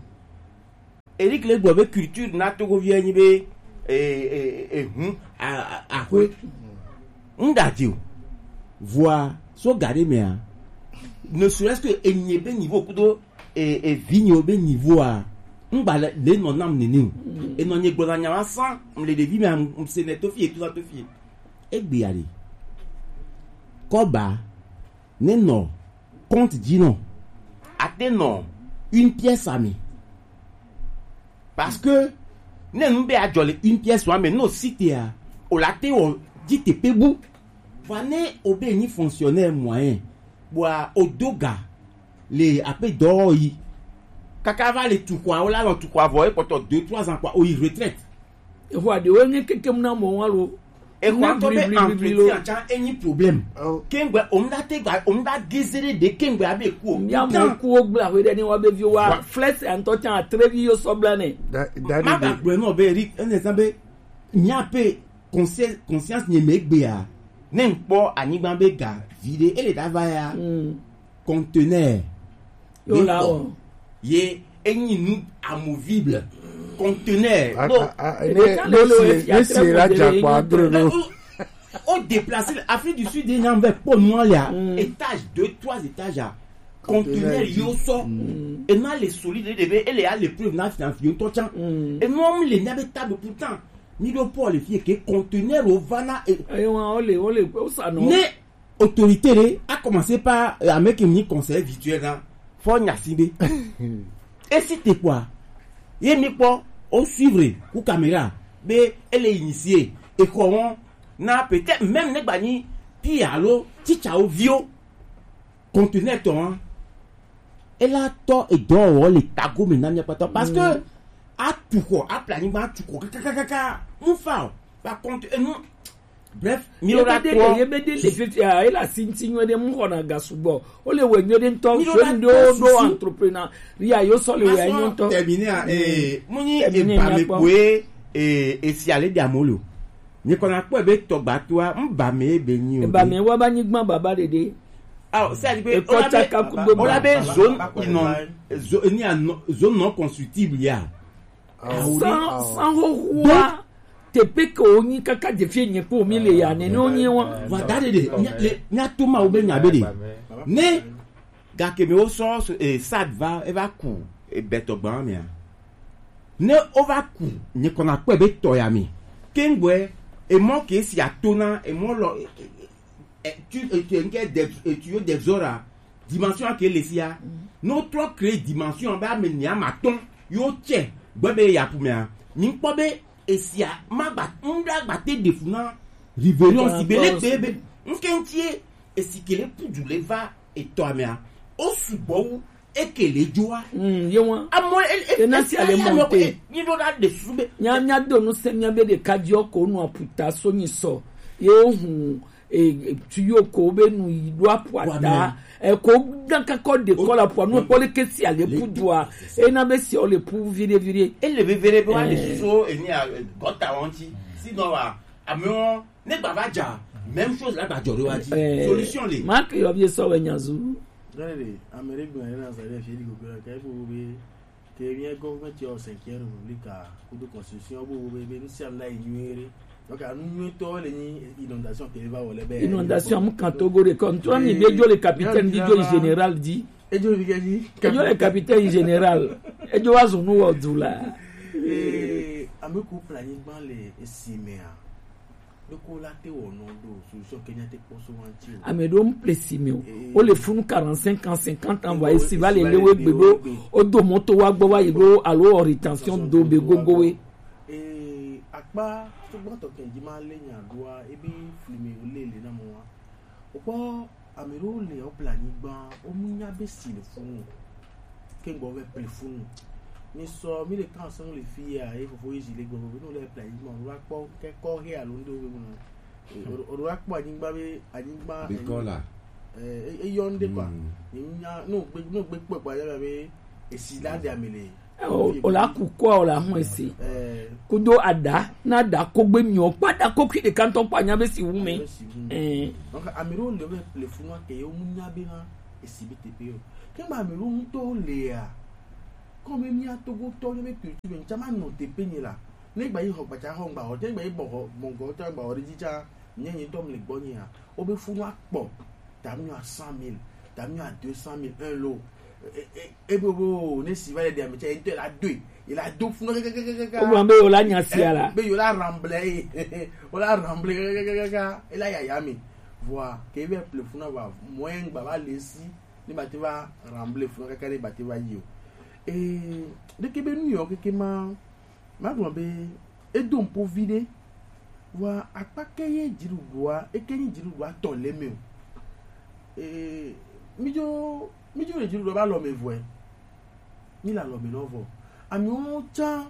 Eric le gblɔ be culture na Togovi enyi be, e, e, e, hu a, a, axwe. Ŋɖadzi o. Vɔa so ga ɖe mea, ne serait-ce que enye be niveau kudo, e, e, vinyewo be niveaua, ŋgba le, le nɔ nam nene o. Enɔ nye gblɔna nya ma san, mle ɖevi mea, mse ne tofi etu na tofi. Egbea ɖe. Kɔba ne nɔ compte dzi nɔ, ate nɔ une pièce ame. Parce que ne nu be adzɔ le une pièce ame, no sitea, o la te wɔ dzi tepe bu. Vɔa ne o be nyi fonctionnaire moyen, bua o do ga le ape dɔ yi. Kaka va le tu xɔa, o la lɔ tu xɔa vɔ, e kpɔtɔ deux, trois ans kpɔa, o yi retraite. Exɔ aɖewo nye kekem na mɔ wa lo. Exɔ ŋutɔ be entretien tsã enyi problème. Kengbe o ŋda te gba, o ŋda geze ɖe ɖe kengbe abe ku o. Mia mɔ kuwo gblẽ aƒe ɖe ne wa be viwo wa flèche ŋutɔ tsã atrevi yo sɔ bla nɛ. Ma ga gblẽ nɔ be Eric, ene zã be mia pe conscience, conscience nye me gbea. Ne ŋkpɔ anyigba be ga vi ɖe, ele ɖa va ya. Conteneur. Yo la o. Ye enyi nu amovible. Conteneur. No. Ne si la dza kpa dro no. O déplacer Afrique du Sud, il y a un peu pour nous là. Étage, deux, trois étages à conteneur yo sɔ. Et na le solide de be, ele a le preuve na finance yo to chan. Et nous on le n'avait table pourtant. Mi do Paul fie ke conteneur o vana e. Ayo wa o le, o le o sa no. Ne autorité re a commencé par, euh, avec une conseil virtuel là. Faut nya si be. Et si te quoi? Ye mi kpɔ o suivre ku caméra be ele initié e ko won na peut-être même ne gba ni pi alo teacher o vio conteneur to hein. Et là to e do o le tago me na mi patɔ parce que a tu ko a planning ba tu ko kaka kaka mu fa o. Par contre e nu Bref, mi ora ko ye be de le fifia e la sinti nyo de mu hona ga sugbɔ. O le we nyo de ntɔ so ndo do entrepreneur ria yo so le we nyo ntɔ. Terminer a eh mu ni e ba me ko e e si ale de amolo. Ni kona ko be to gba to a mba me be ni o. Ba me wa ba ni gban baba dede. Ah, c'est-à-dire que on a be zone, zone non constructible ya. San san ho hua. Tepe ke wonyi kaka dze fie nye kpo mi le ya ne ne wonyi wa. Vɔ da ɖe ɖe mia to ma wo be nya be ɖe ne gake mi wo sɔ eh, sad va e va ku ebetɔ gba mea ne o va ku nye kɔna kpɛ be tɔ ya mi kengbe emɔ ke si ato na emɔ lɔ eh, tu eh, tu eh, nke de eh, tu yo de zora dimension ke le sia no trɔ créer dimension be ame nia ma tɔn yo tsɛ gbe be ya pu mea mi kpɔ be esia ma gba ŋɖa gba te ɖe fu na rivelion si be le gbe be ŋke ŋtie esi ke le pudu le va etɔ amea o sugbɔ wu eke le dzoa mm ye wa amɔ e e ena si ale mɔ te ni do da de su be nya nya do nu se nya be de ka dio ko nu aputa so ni so ye o hu e tuyau ko be nu yi do apuata e ko dan ka ko de ko la po nu ko le ke si ale pudua e na be si o le pu vide vide e le vevere be wa le so e ni a gota won ti si no wa ame won ne gba va ja même chose la gba jɔ de wa ti solution le ma ke yo bi so we nyazu Gane de ame ɖe gblɔ ne na sa ɖe fi di gogo ke bo be ke mía gɔvmɛnti ɔ cinquième république a kudo constitution bo be be nu sia nu la yi nyuie ɖe. Donc anu nyuietɔ le nyi inondation ke va wɔ le be inondation mu kan togo de kɔ ntɔ mi be jo le capitaine di jo général di ejo bi ke di ejo le capitaine général ejo wa zunu wɔ du la ee ame ko ple anyigba le esi mea ɖoko la te wɔ nɔ ɖo solution kenya te kpɔ so wa ŋti o ame ɖo mu ple si mi o o le funu quarante-cinq ans cinquante ans vɔ esi va le le we gbe ɖo o do mɔto wa gbɔ va yi ɖo alo ɔ rétention do be gogo we ee akpa tugbɔtɔ kɛnji ma le nya ɖoa ebi flime o le le na mɔ wa o kpɔ ame ɖewo le o ple anyigba o mu nya be si le funu o ke gbɔ vɛ ple funu mi sɔ mi le kan sɔn le fi ya ye fofo yi zi le gbɔ fofo no le ple anyigba o va kpɔ kɛkɔ he alo ŋɖewo be mu nɔ o ɖo akpɔ anyigba be anyigba bikɔ la Eh, e- eyɔ ŋɖe kɔa. Nya no gbe no gbe kpɔ gba yɔ be esi la de ame le. O o la ku kɔ o la hun ese. Eh, Kudo ada na da ko gbe miɔ kpa da ko kui de kantɔ kpa nya be si wu me. Esi wu me. Eh. Donc ame ɖewo le be le funu ke yewo mu nya be na esi be teƒe o. Ke gba ame ɖewo ŋutɔ le ya. Kɔmi mía Togotɔ nye be culture ŋtsa ma nɔ teƒe nye la. Ne gba yi xɔ gbatsa xɔ ŋgba xɔ, ne gba yi bɔ xɔ mɔgɔ tsa ŋgba xɔ ɖe dzi tsa, nye nye ŋtɔ mi le gbɔ nye ya. Wo be funu akpɔ, ta mi à cent mille, ta mi à deux cent mille, un lot. E e e be bo ne si va le de ame tsa, ŋtɔ la do, e la do funu kakakakaka. Wo gblɔ be wo la nya sia la. Be yo la ramble, e wo la ramble kakakakaka, e la yaya mi. Vɔa, ke be ple funu va, moyen gba va le si, ne ba te va ramble funu kaka ne ba te va yi o. Ee, ɖeke be nu yɔ keke ma, ma gblɔ be edo ŋpo vi ɖe. Vɔa akpa ke ye dziɖuɖua, eke nyi dziɖuɖua tɔ le me o. Ee, mi dzo, mi dzo le dziɖuɖua ba lɔ me vɔe. Mi la lɔ me nɔ vɔ. Amewo tsã,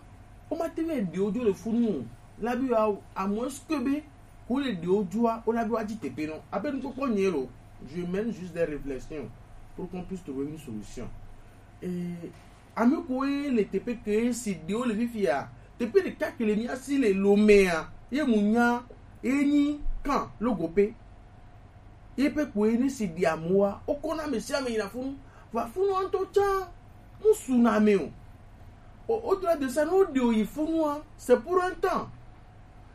wo ma te ve ɖewo dzo le funu o. La bi wa, à moins que be, ko le ɖewo dzoa, wo la bi wa dzi teƒe nɔ. Abe nukpɔkpɔ nye lo, je mène juste des réflexions pour qu'on puisse trouver une solution. Et ame koe le teƒe ke si ɖewo le fifia, teƒe ɖeka ke le mía si le Lomea, ye mu nya ye nyi kan logo pe. Ye pe koe ne si ɖi amewoa, wokɔna ame sia ame yina funu. Va funu ŋutɔ tsã, mu su na ame o. O- Au-delà de ça, ne woɖi wo yi funua, c'est pour un temps.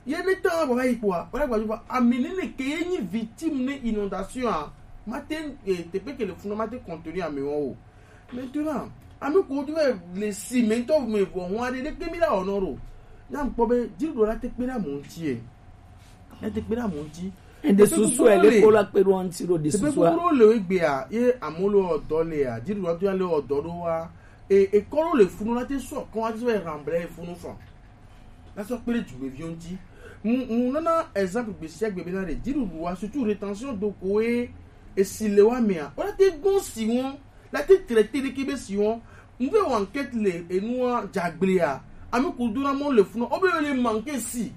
Ye ne temps vɔ va yi kpoa, wala gba va ami ne ne ke ye nyi victime ne inondation a, ma te eh, teƒe ke le funu ma te contenir amewo o. Maintenant, ame ko do le si me to me vo ho ade de ke mi la ono ro. Na mkpɔ be dziɖuɖo la te kpe ɖe amewo ŋuti e. La te kpe ɖe amewo ŋuti. Ende susu ele ko la kpe ɖo ŋuti ɖo de susu a. Teƒe gbogbo le egbea ye amewo le ɔdɔ lea, dziɖuɖo to ya le ɔdɔ ɖo wa. E ekɔ ɖo le funu la te sɔ kɔ wa te sɔ ramble funu fɔ. La sɔ kpe ɖe dumeviwo ŋuti. Mu mu nana exemple gbe sia gbe be na ɖe dziɖuɖua, surtout rétention d'eau ko ye esi le wa mea, wala te gbɔn si wɔn, la te traité ɖeke be si wɔn. Mu ve wɔ enquête le enua dzagblea, ame ko do na mɔ le funu, o be le manqué si.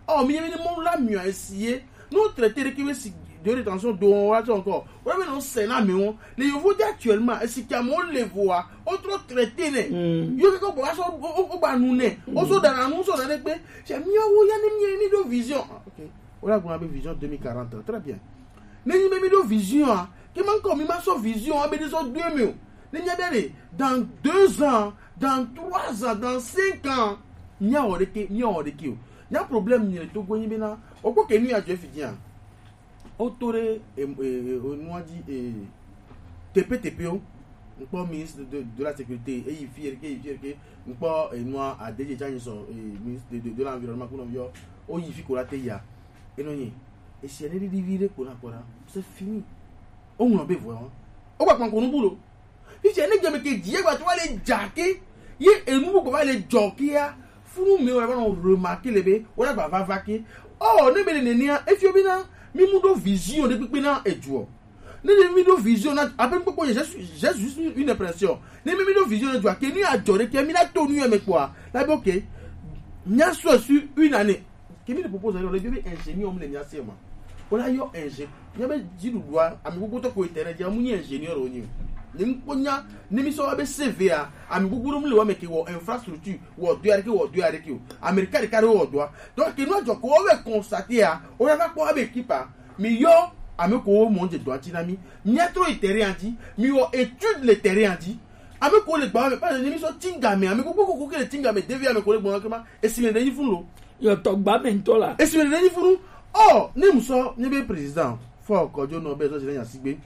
Ɔ mi ye be ni mɔ la miɔ esi ye. No traité ɖeke be si de rétention d'eau wa tsɔ encore. Wala be no se na mi wɔn. Le yovo de actuellement, esi ke amewo le voa, o trop traité nɛ. Yo ke ko bɔ wa sɔ o o- o gba nu nɛ. O sɔ dana nu sɔ na ɖe kpe. Cɛ miawo ya ne mi mi ɖo vision. Ah, ok. Wala gblɔ be vision deux mille quarante, très bien. Ne nyi be mi ɖo vision a, ke ma ŋkɔ mi ma sɔ vision a be ɖe sɔ do eme o. Ne mia be ɖe dans deux ans, dans trois ans, dans cinq ans, mia wɔ ɖeke, mia wɔ ɖeke o. Nya problème mi le Togo nyi be na, o kpɔ ke nu ya dzɔ fi dzi a. O to ɖe e e e nua dzi e tepe tepe o. Ŋkpɔ ministre de, de la sécurité, eyi fi erke, eyi fi erke. Ŋkpɔ enua adedze tsa nyi sɔ e ministre de, de, de l'environnement kunɔ yɔ. O yi fi ko la te ya. Enɔ nyi. Esi ene ɖiɖi vi ɖe kpona kpona. C'est fini. O ŋlɔ be vɔ. O gba kpɔn ko nu bu lo. Fifia ne game ke dzi egba to va le dza ke. Ye enu bu va le dzɔ ke ya. Funu me wala va nɔ remarquer le be wala gba va va ke. Oh, ne be le nenea, efio be na mi mu ɖo vision ɖe kpekpe na edzuɔ. Ne ɖe mi ɖo vision na abe kpekpe ye, j'ai su- j'ai juste une impression. Ne mi mi ɖo vision na dzua ke ni adzɔ ɖe ke mi na to nu ya me kpɔa. La be ok. Mia sɔ sur une année. Ke mi le propose ɖe le be ingénieur mi le mia se ma. Wala yɔ ingé. Mia be dziɖuɖua ami gbogbo tɔ ko internet ya mu nyi ingénieur o nyi. Ni ŋkpɔ nya ni mi sɔ wa be C V a ami gbogbo mi le wa me ke wɔ infrastructure wɔ do ya ɖe ke wɔ do ya ɖe ke o. Amerika ɖeka ɖe wɔ do a. Donc ke nu adzɔ ko wo be constater a. Wala va kpɔ abe équipe a. Mi yɔ ame ko wo mɔ dze dɔa tsi na mi. Mia trɔ yi terrain dzi. Mi wɔ étude le terrain dzi. Ame ko le gba me, parce que mi sɔ tinga me, ame ko ko ko ke le tinga me, devi ame ko le gba ke ma, esi le ɖe yi fun lo. Yɔ tɔ gba me ŋutɔ la. Esi le ɖe yi fun. Oh, ne mu sɔ, ne be président, fɔ kɔdzo nɔ be sɔ si le nya sigbe.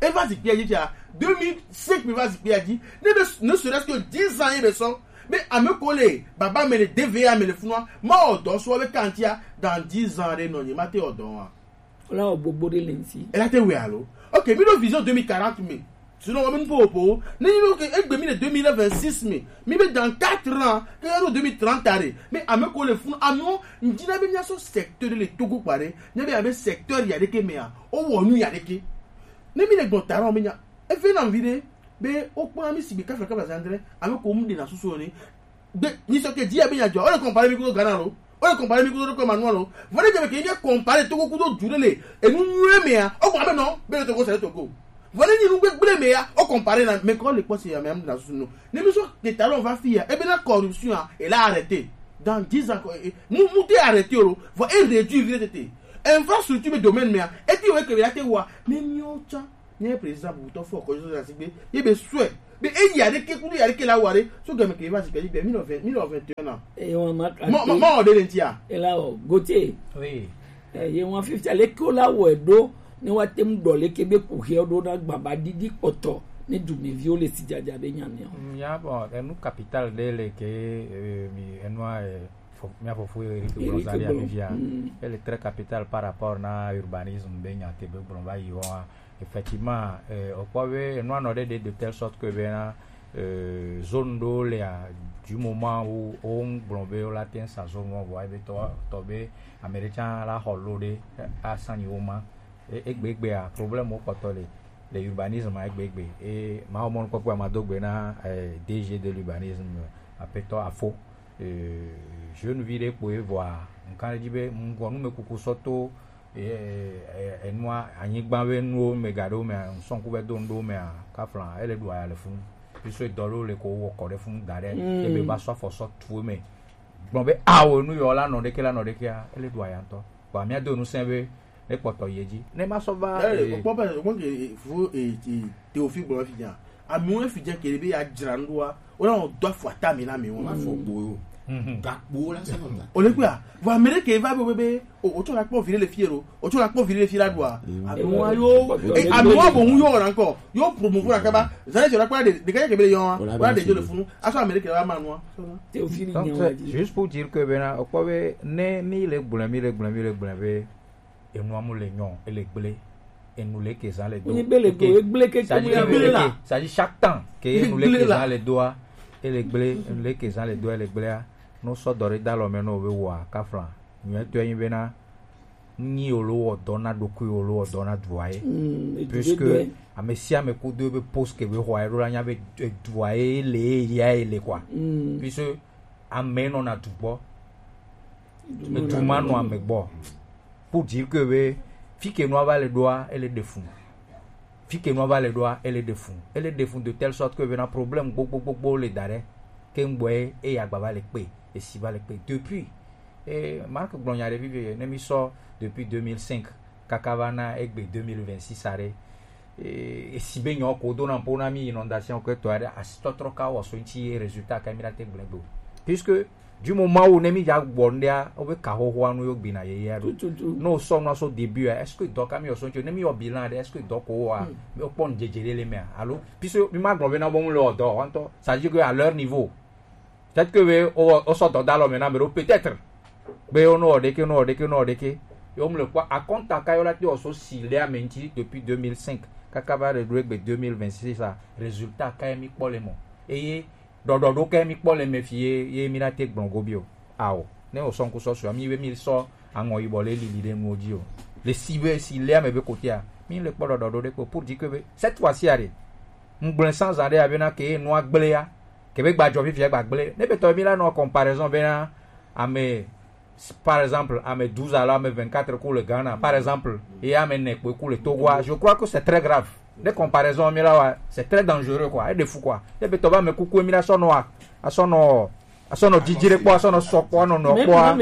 E va zikpia dzi tsa, deux mille cinq mi va zikpia dzi. Ne be ne serait-ce que dix ans ye be sɔ. Be ame ko le baba me le devi ame le funua, ma ɔdɔ sɔ be kantia dans dix ans ɖe nɔ nyi ma te ɔdɔ wa. Wala wɔ gbogbo ɖe le ŋuti. Ela te wɛ alo? Ok, mi ɖo vision deux mille quarante me. Sinon, wa mi po po. Ne mi ɖo ke egbe mi le deux mille vingt-six me. Mi be dans quatre ans, ke ɖo deux mille trente are. Mais ame ko le fun, ame wo, ŋdi na be mia sɔ secteur ɖe le Togo kpa ɖe. Mia be abe secteur ya ɖe ke mea. O wɔ nu ya ɖe ke. Ne mi le gbɔ ta ɖe, mi nya. Efe na mi ɖe. Be o kpɔ mi si be kafla kafla zandre. Ame ko mu de na susu ne. Be, mi sɔ ke dzi ya be nya dzɔ. O le compare mi ko Ghana lo. O ye comparer mi kudo ko Emmanuel o. Vɔ ne jɛ mɛ ke ye comparer Togo kudo du ɖe le enu nyuie mea, o ko abe non, be le Togo c'est le Togo. Vɔ ne nyi nu gbegble mea, o comparer na, mais ko le kpɔ si ya mea, na susu no. Ne mi so ke talon va fi ya, e be la corruption a, elle a arrêté. Dans dix ans, ko, e, mu, mu te arrêté o, vɔ e réduire vite te. Infrastructure be domaine mea, e ti we ke be la te wa, mais mi o tsa. Nye président bubutɔ fɔ kɔjɔ sɔsɔ asigbe ye be sɔɛ be eyi aɖeke kudo yi aɖeke la wɔ aɖe so game ke va si kɛji be mi nɔ vingt mi nɔ vingt et un ans. Eye wọn ma ka mɔ mɔ te. Mɔ de le ŋtia. Ela o gote. Oui. Eye wọn fifia leke wo la wɔe ɖo ne wa te ŋu ɖɔ leke be kuxia ɖo na gbaba ɖiɖi kpɔtɔ ne dumeviwo le sijaja be nya mea. Mm, ya bon, enu capital ɖe le ke eh, mi enua eh, fo- mia fofo Eric Eric Gonzalez Gbo. Avivia. Mm. Elle est très capitale par rapport na urbanisme be nya te be gblɔ va yi wɔa. Effectivement, euh, okpɔ be enua nɔ ɖe ɖe de telle sorte que bena euh, zone ɖewo lia du moment où wo ŋu gblɔ be wo la te ŋu sa zone wo vɔ ebe tɔ tɔ be ame ɖe tsã la xɔ lo ɖe asanyi wo ma. E- egbegbea problème wo kpɔtɔ le le urbanisme a egbeegbe. E mawo mɔnukpɔkpɔ a ma do gbe na eh, D G de l'urbanisme apetɔ afo eh, jeune vi ɖe kpoe vɔa nkan ɖe dzi be ŋgɔ numekuku sɔ to eh, eh, enua anyigba be nuwo me ga ɖewo mea ŋsɔnku be do nu ɖewo mea kafla ele ɖu aya le funu. Piso dɔ ɖewo le ko wɔ kɔ ɖe funu da ɖe Mm. ebe va sɔ afɔ sɔ tu eme gblɔ be awo nu yɔ la nɔ ɖeke la nɔ ɖekea ele ɖu aya ŋutɔ. Vɔa mia do nu sɛ be ne kpɔtɔ yi edzi ne ma sɔ va Eh, eh, okpɔ be okpɔ ke fu eh, eh, Théophile gblɔ fi dza. Amewo fi dza ke be ya dzra nu ɖoa, wo na wɔ do afɔ ata mi na mi wo. Ma fɔ gbo yo. Mhm. Gakpo la sɛ nɔ ta. O le kpɔa, vɔ ame ɖe ke va be be o o tsɔ la kpɔ vi ɖe le fi ro, o tsɔ la kpɔ vi ɖe le fi la ɖoa. Amewo yo, eh, amewo bo ŋu yo na ŋkɔ, yo promouvoir kaba, zan je la kpɔ de de ke ke be yo, wa de jo le funu, aso ame ɖe ke va ma nua. Théophile Donc, nyawa c'est di. Juste pour dire que bena okpɔ be ne mi le gblɔ mi le gblɔ mi le gblɔ be enua mu le nyɔ ele gble enu le ke zan le do. Ni be le do egble ke ça dit ke egble la. Ça dit chaque temps ke enu le ke zan le doa ele gble enu le ke zan le doa ele gblea no sɔ dɔ ɖe da lɔ me no be wa kafla nyuɛ to yin bena nyi olo wɔ dɔ na ɖokui olo wɔ dɔ na dua ye. Mm, edu puisque ɖe doe. Ame sia ame kudo be post ke be xɔ ye ɖo la nya be dua ye le ya ye le quoi. Mm. Puisque ame nɔ na du gbɔ Edu ma nɔ ame gbɔ. Pour dire que be fi ke nua va le ɖoa ele ɖe fun. Fi ke nua va le ɖoa ele ɖe fun. Ele ɖe fun de telle sorte que bena problème gbogbogbogbo le da ɖe ke ŋgbɔe e ya gba va le kpe esi va le kpe depuis. Et Marc gblɔ nya ɖe vivi ne mi sɔ depuis deux mille cinq kaka va na egbe deux mille vingt-six aɖe. Eh, esi be nyɔ ko do na po na mi inondation ke to aɖe asitɔtrɔ ka wɔ so ŋuti ye résultat ka mi la te gblẽ gbe o. Puisque du moment où ne mi dza gbɔ ŋɖea wobe ka xoxoa nu yo gbina yeyea ɖo. Tututu. Ne wosɔ nua so début a est-ce que dɔ ka mi wɔ so ŋuti ne mi wɔ bilan aɖe est-ce que dɔ ko wɔa mi kpɔ ŋdzedze ɖe le mea alo puisque mi ma gblɔ be na bo ŋu le wɔ dɔ wa ŋutɔ ça veut dire que à leur niveau. Peut-être que be o o sɔ dɔ da lɔ me na me ɖo peut-être be o nɔ ɖeke nɔ ɖeke nɔ ɖeke yo mu le kpɔ akɔnta ka yo la te o so si le ame ŋuti depuis deux mille cinq kaka va ɖe ɖo egbe deux mille vingt-six a résultat ka ye mi kpɔ le mɔ eye ɖɔɖɔ ɖo ka ye mi kpɔ le me fi ye ye mi la te gblɔ go bi o ao ne o sɔ ŋku sɔ sɔ mi be mi sɔ aŋɔ yibɔ le lili ɖe nuwo dzi o le si be si le ame be kotea mi le kpɔ ɖɔɖɔ ɖo ɖe kpɔ pour dire que be cette fois-ci a ɖe ŋgblẽ sã zã ɖe abe na ke nua gblẽa ke be gbadzɔ fifia gbagblẽ ne be tɔ mi la nɔ comparaison be na ame par exemple ame douze alo ame vingt-quatre ku le Ghana par exemple ye ame ne kpoe ku le Togoa je crois que c'est très grave ne comparaison mi la wa c'est très dangereux quoi e de fou quoi ne be tɔ ba me kuku mi la sɔ nɔ a asɔ nɔ asɔ nɔ didi ɖe kpɔ asɔ nɔ sɔ kpɔ anɔ nɔ kpɔ a.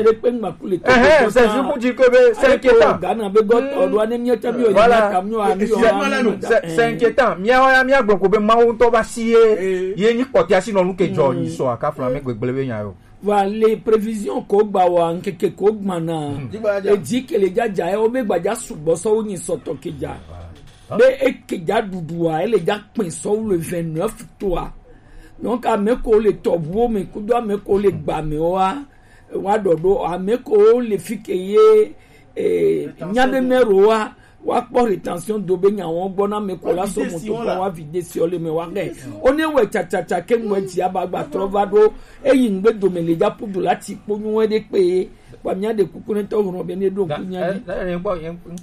Ɛhɛn, c'est juste pour dire que be c'est inquiétant. Ghana be gɔtɔ ɖo ane miɔ tɛ miɔ yi na tam miɔ ami yɔ ami yɔ. C'est inquiétant. Miawo ya mia gblɔ ko be Mawu ŋutɔ va si ye ye nyi kpɔtia si nɔ nu ke dzɔ nyi sɔ aka fla me gbegble be nya yo. Wa le prévision ko gba wa nkeke ko gba na edzi ke le dzadza ye wo be gbadza sugbɔ sɔ wo nyi sɔtɔ ke dza. Be eke dza ɖuɖua ele dza kpɛ sɔ wo le vingt-neuf toa. Donc ame ko le tɔʋuwo me kudo ame ko le gba me wa wa ɖɔɖo ame ko le fi ke ye eh, nya be mɛ ro wa wa kpɔ rétention do be nya wɔn gbɔ na ame ko la so moto gbɔ wa vide si ɔle me wa kɛ o ne wɛ tsatsatsa ke ŋu edzi aba gba trɔ va ɖo eyi ŋgbe dome le dza ƒu do la ti kpo nyuie ɖe kpe ye kpa mia ɖe kuku ne tɔ ŋlɔ be ne ɖo ŋku nya dzi.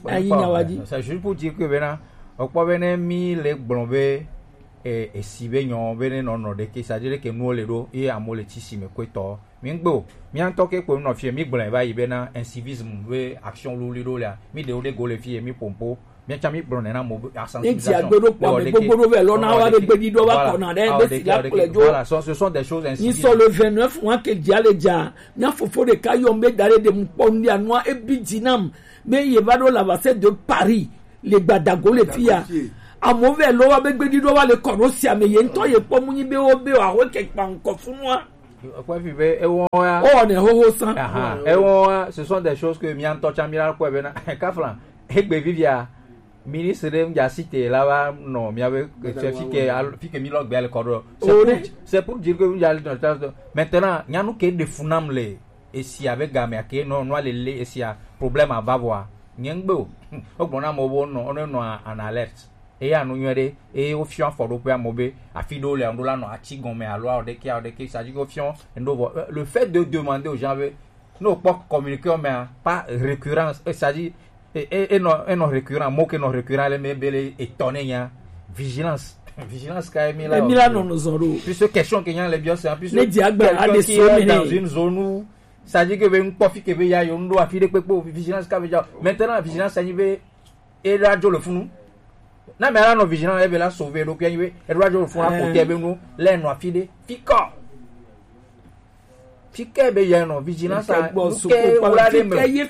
Ayi nya wa dzi. C'est juste pour dire que bena okpɔ be ne mi le gblɔ be E, esi be nyɔ be ne nɔ nɔ ɖeke, c'est-à-dire que nuwo le ɖo ye amewo le tsi si me kɔetɔ. Mi ŋgbe o, mía ŋutɔ ke kpo nɔ fie, mi gblɔe va yi bena incivisme be action luli ɖo lea, mi ɖewo ɖe go le fie, mi pompo, mía tsã mi gblɔ nɛ na mo be sensibilisation. Ne dzi agbe ɖo kpɔ ame gbogbo ɖo vɛ lɔ na wa be gbedi ɖo va kɔna ɖe be si la kplɛ dzo. Voilà, ce sont des choses incivisme. Ni sɔ le vingt-neuf mois ke dzi ale dza, mía fofo ɖeka yɔm be da ɖe ɖe mu kpɔ nu ɖe anua ebi dzi nam be ye va ɖo la va se de Paris. Le gbadago le fi ya. Amewo vɛ lɔ wa be gbedi ɖo wa le kɔ ɖo sia me ye ŋutɔ ye kpɔ mu nyi be wo be wa ho ke kpa ŋkɔ funua. Kɔfi be ewɔ ya. Ɔ ne hoho san. Aha, ewɔ ya, ce sont des choses que mía ŋutɔ tsã mía kpɔe bena kafla egbe vivia ministre ɖe ŋdza si te la va nɔ mía be fi ke fi ke mi lɔ gbea le kɔ ɖo. C'est pour dire que ŋdza le nɔ maintenant nyanu ke ɖe fu nam le esia be gamea ke nɔ nua le le esia problème ava vɔa nye ŋgbe o. Wogblɔ na amewo be wonɔ wonɔ en alerte. Eya nu nyuie ɖe eye wofiɔ afɔɖoƒe amewo be afi ɖewo le ameɖo la nɔ ati gɔme alo awo ɖeke awo ɖeke sadi ke wofiɔ ŋɖo vɔ. Le fait de demander aux gens be ne wokpɔ communiqué mea pas récurrence sadi enɔ enɔ récurrent mo ke nɔ récurrent le me bele etɔ ne nya vigilance. Vigilance ka emi la emi la nɔ nɔ zɔn ɖo puisque question ke nya le biɔ se puisque ne di agba ade so me dans une zone où ça dit que be ŋkpɔ fi ke be ya yo ŋɖo afi ɖe kpekpe o vigilance ka be dza maintenant vigilance anyi be e ɖo adzo le funu na me ala nɔ vigilant ebe la sauver ɖo kuya nyi be e ɖo adzo le funu la kote be nu le nɔ afi ɖe fi kɔ fi ke be ya nɔ vigilant sa nu ke wula ɖe me eye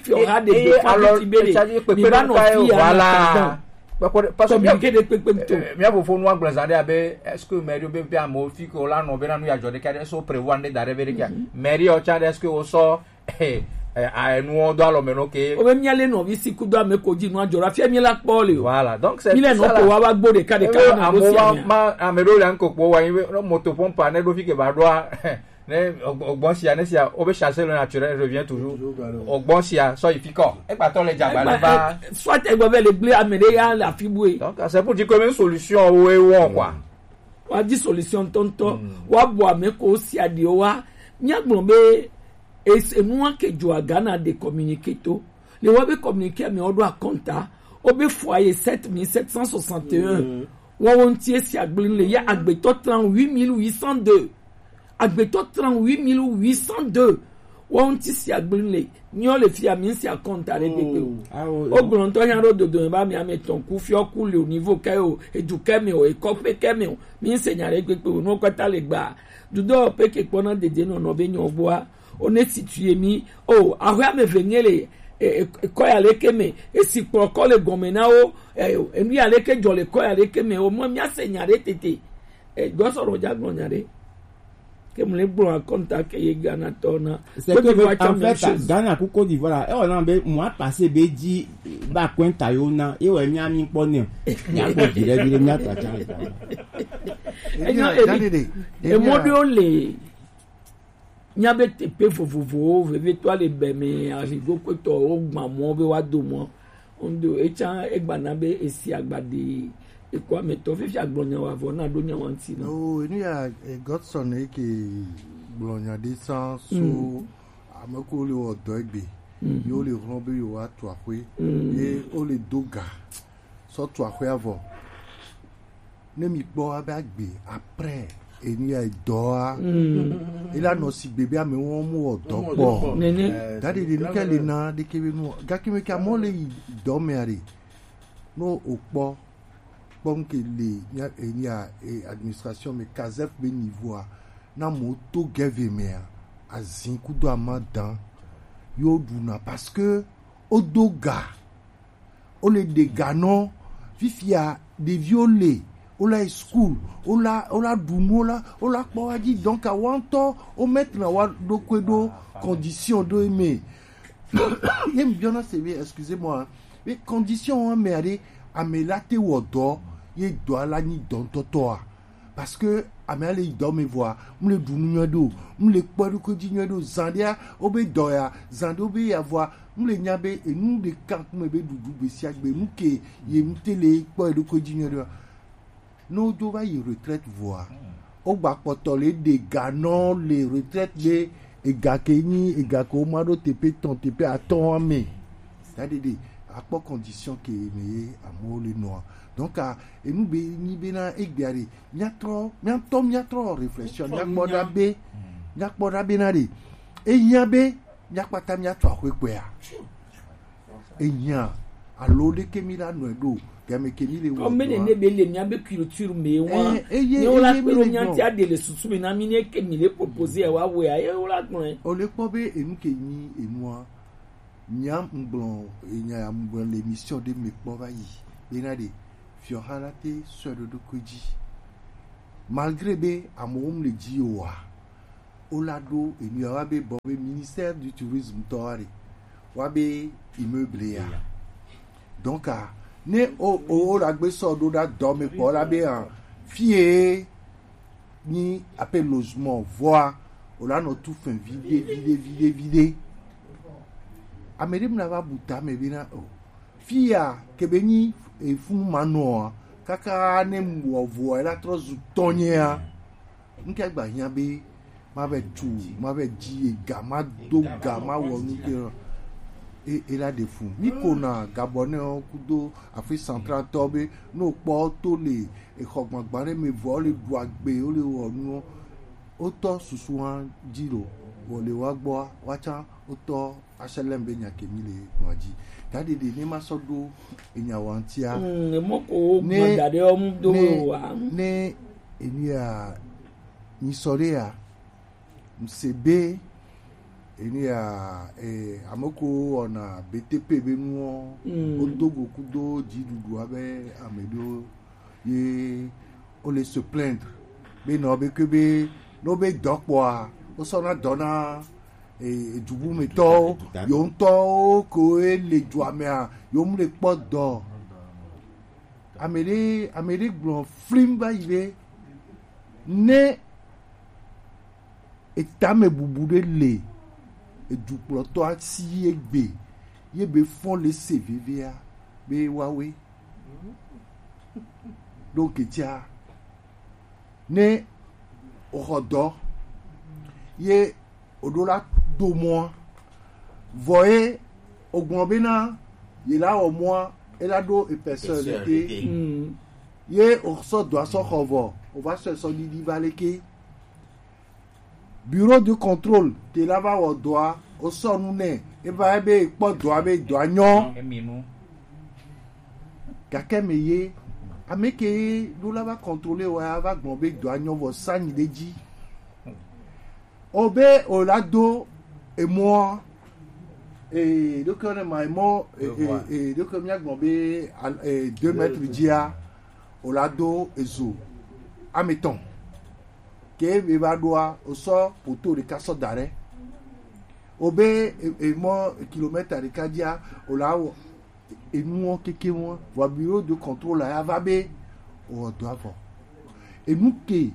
alɔ etsa di kpekpe ɖo ka ye voilà parce que mia fofo nu agblɔ zã ɖe abe est-ce que mairie be be amewo fi ke wula nɔ be na nu ya dzɔ ɖe ka ɖe so prévoir ne da ɖe be ɖe ka mairie o tsa ɖe est-ce que o sɔ enuwo do alɔ me no ke. Obe mía le nɔvi si kudo ame ko dzi nua dzɔ la fia mí la kpɔ le o. Voilà, donc c'est mi le nɔ ko wa wa gbo ɖeka ɖeka na bo si amea. Ma ame ɖo le ŋko kpo wa yi be moto pompa ne ɖo fi ke ba ɖoa ne ogbɔn sia ne sia obe chasse le naturel revient toujours. Ogbɔn sia sɔ yi fi kɔ. Egbatɔ le dzagba le ba. Soit egbe be le gble ame ɖe ya le afi bue. Donc c'est pour dire que même solution wo e wɔ quoi. Wa di solution ŋutɔŋutɔ wa bɔ ame ko si aɖiwo wa mía gblɔ be enua ke dzo aga na de communiqué to le wa be communiqué ame wo ɖo akɔnta wo be foyer sept mille sept cent soixante et un wɔwo ŋuti esi agblin le ya agbetɔ trente-huit mille huit cent deux agbetɔ trente-huit mille huit cent deux wɔwo ŋuti si agblin le nyɔ le fia mi si akɔnta ɖe gbegbe o. Wo gblɔ ŋutɔ nya ɖo dodo me ba mi ame tɔn ku fiɔ ku le o nivo kɛ o edu kɛ me o ekɔƒe kɛ me o mi se nya ɖe gbegbe o nuwo kɔta le gba dudɔ pe ke kpɔna dede nɔnɔ be nyɔ gbɔa o ne situe mi o ahwe ame ve nye le ekɔ ya le ke me esi kplɔ kɔ le gɔme na wo enu ya le ke dzɔ le kɔ ya le ke me o mɔ mia se nya ɖe tete gbɔsɔrɔ dza gblɔ nya ɖe. Ke mu le gblɔ akɔnta ke ye Ghana tɔ na. C'est que en fait Ghana ku Côte d'Ivoire la ewɔ na be mu apase be dzi ba kɔnta yo na ye wɔ mia mi kpɔ ne mia kpɔ dzi ɖe bi ɖe mia ta tsa. Enyo emi emɔ ɖewo le mia be teƒe vovovowo vevetɔ le be me arigo kpetɔ wo gba mɔ be wa do mɔ. Ŋdo etsã egbana be esi agbaɖi ekɔ ametɔ fifi agblɔ nya wa vɔ na ɖo nya wa ŋuti na. Oh enu ya eh, Godson eke gblɔ nya ɖe sã so ame ko le wɔ dɔ egbe yo le hlɔn be yo wa tu aƒe ye o le do ga sɔ tu aƒe avɔ ne mi kpɔ abe agbe après enu ya dɔa ela nɔ si gbe be ame wɔm wɔ dɔ kpɔ nene da ɖeɖe nu ke le na ɖeke be nu gake me ke amewo le yi dɔ mea ɖe no o kpɔ kpɔ nu ke le nya enu ya e administration me kazef be nivoa na mo to gɛve mea azin kudo amadan yo ɖuna parce que o do ga o le ɖe ga nɔ fifia ɖeviwo le o la yi school o la o la ɖu nu o la o la kpɔ wa dzi donc awa ŋutɔ o mettre na wa ɖokui ɖo condition ɖo eme ye mi biɔna se be excusez moi be condition wa mea ɖe ame la te wɔ dɔ ye dɔ la nyi dɔ ŋutɔtɔa parce que ame ale yi dɔ me vɔa mu le ɖu nu nyuie ɖo mu le kpɔ ɖokui dzi nyuie ɖo zan ɖea o be dɔ ya zan ɖe o be ya vɔa mu le nya be enu ɖeka kume be ɖuɖu gbe sia gbe nu ke ye mu te le kpɔ ɖokui dzi nyuie ɖoa ne wo do va yi retraite vɔa wo gba kpɔtɔ le ɖe ga nɔ le retraite be ega ke nyi ega ke wo ma ɖo teƒe tɔn teƒe atɔn ame da ɖeɖe akpɔ condition ke me ye amewo le nɔa. Donc, ah, enu be nyi bena egbea ɖe, míatrɔ, míatɔ, míatrɔ réflexion, míakpɔ ɖa be, míakpɔ ɖa bena ɖe, ehiã be míakpata míatu axwe kpɔea? Ehiã, alo ɖeke mi la nɔe ɖo, game ke mi le wɔ Comme ne dɔa. Ne be le mia be culture me wa. Eh, eye, Ne wala eye, kpe mi ɖo le mia gbɔ. Ŋuti aɖe le susu me na mi ne ke mi le proposer wa wea, ye wala gblɔe. O le kpɔ be enu ke nyi enua. Nya ŋgblɔ, nya ya ŋgblɔ le émission ɖe me kpɔ va yi. Bena ɖe, fiɔha la te sɔe ɖo ɖokui dzi. Malgré be amewo mu le dzi oa, wola ɖo enu ya wa be bɔ be ministère du tourisme tɔ wa ɖe. Wa be immeuble ya. Donc, ah, ne o, o, o la gbe sɔ ɖo ɖa dɔ me kpɔ la be, ah, fie nyi ape logement vɔa, o la nɔ tu fɛn viɖe, viɖe, viɖe, viɖe. Ame ɖe mla va bu ta me bena o. Fi ya ke be nyi efun ma nɔa, kaka ne wɔ vɔa, la trɔ zu tɔnyea. Nke agba hiã be ma vɛ tu, ma vɛ dzi ega, ma do ga, ma wɔ nu ke. E, e la ɖe fu. Mi ko na Gabonais kudo Afrique centrale tɔ be, no kpɔ to le exɔ gbagba ɖe me vɔ le ɖu agbe, wo le wɔ nu. Wotɔ susu hã dzi lo, wɔ le wa gbɔa, wa tsã wotɔ H L M be nya ke mi le nua dzi. Gaɖeɖe ne ma sɔ ɖo enya wa ŋutia. Mm, mɔ ko Ne, gbɔda ɖe ɔmu do ne, wa. Ne enu ya, mi sɔ ɖe ya, ŋse be, enu ya, eh, ame ko wɔna B T P be nuɔ, Mm. Wodo go kudo dziɖuɖua be ame ɖewo ye wo le se plaindre be nɔ be ke be no be dɔ kpɔa, wo sɔ na dɔ na, eh, dubu me tɔwo, yo ŋutɔwo ko e le dua mea, yo mu le kpɔ dɔ. Ame ɖe, ame ɖe gblɔ flim va yi be ne etame bubu ɖe le edukplɔtɔ asi egbe ye be fɔn le se vevea be wawe ɖo ketia ne oxɔ dɔ ye oɖo la do mɔa vɔ ye ogblɔ bena ye la wɔ mɔa ela ɖo epɛsɛ leke ye osɔ dɔ asɔ xɔ vɔ ova sɔ esɔ ɖiɖi va leke. Bureau de contrôle te la va wɔ dɔa, o sɔ nu nɛ, e va ebe kpɔ dɔa be dɔa nyɔ. Emi nu. Gake me ye, ame ke ɖo la va contrôler wa ya va gbɔn be dɔa nyɔ vɔ sa nyi ɖe dzi. O be o la do emɔ, e ɖo ke ne ma emɔ, e, e, e ɖo ke mia gbɔn be, al-, e, deux mètres dzia, o la do ezo ame tɔn. Ke be va ɖoa, o sɔ poto ɖeka sɔ da ɖe. O be e, e mɔ kilomètre ɖeka dzia, o la wɔ enuwo keke wo. Vɔ bureau de contrôle ya va be o wɔ dɔ avɔ. Enu ke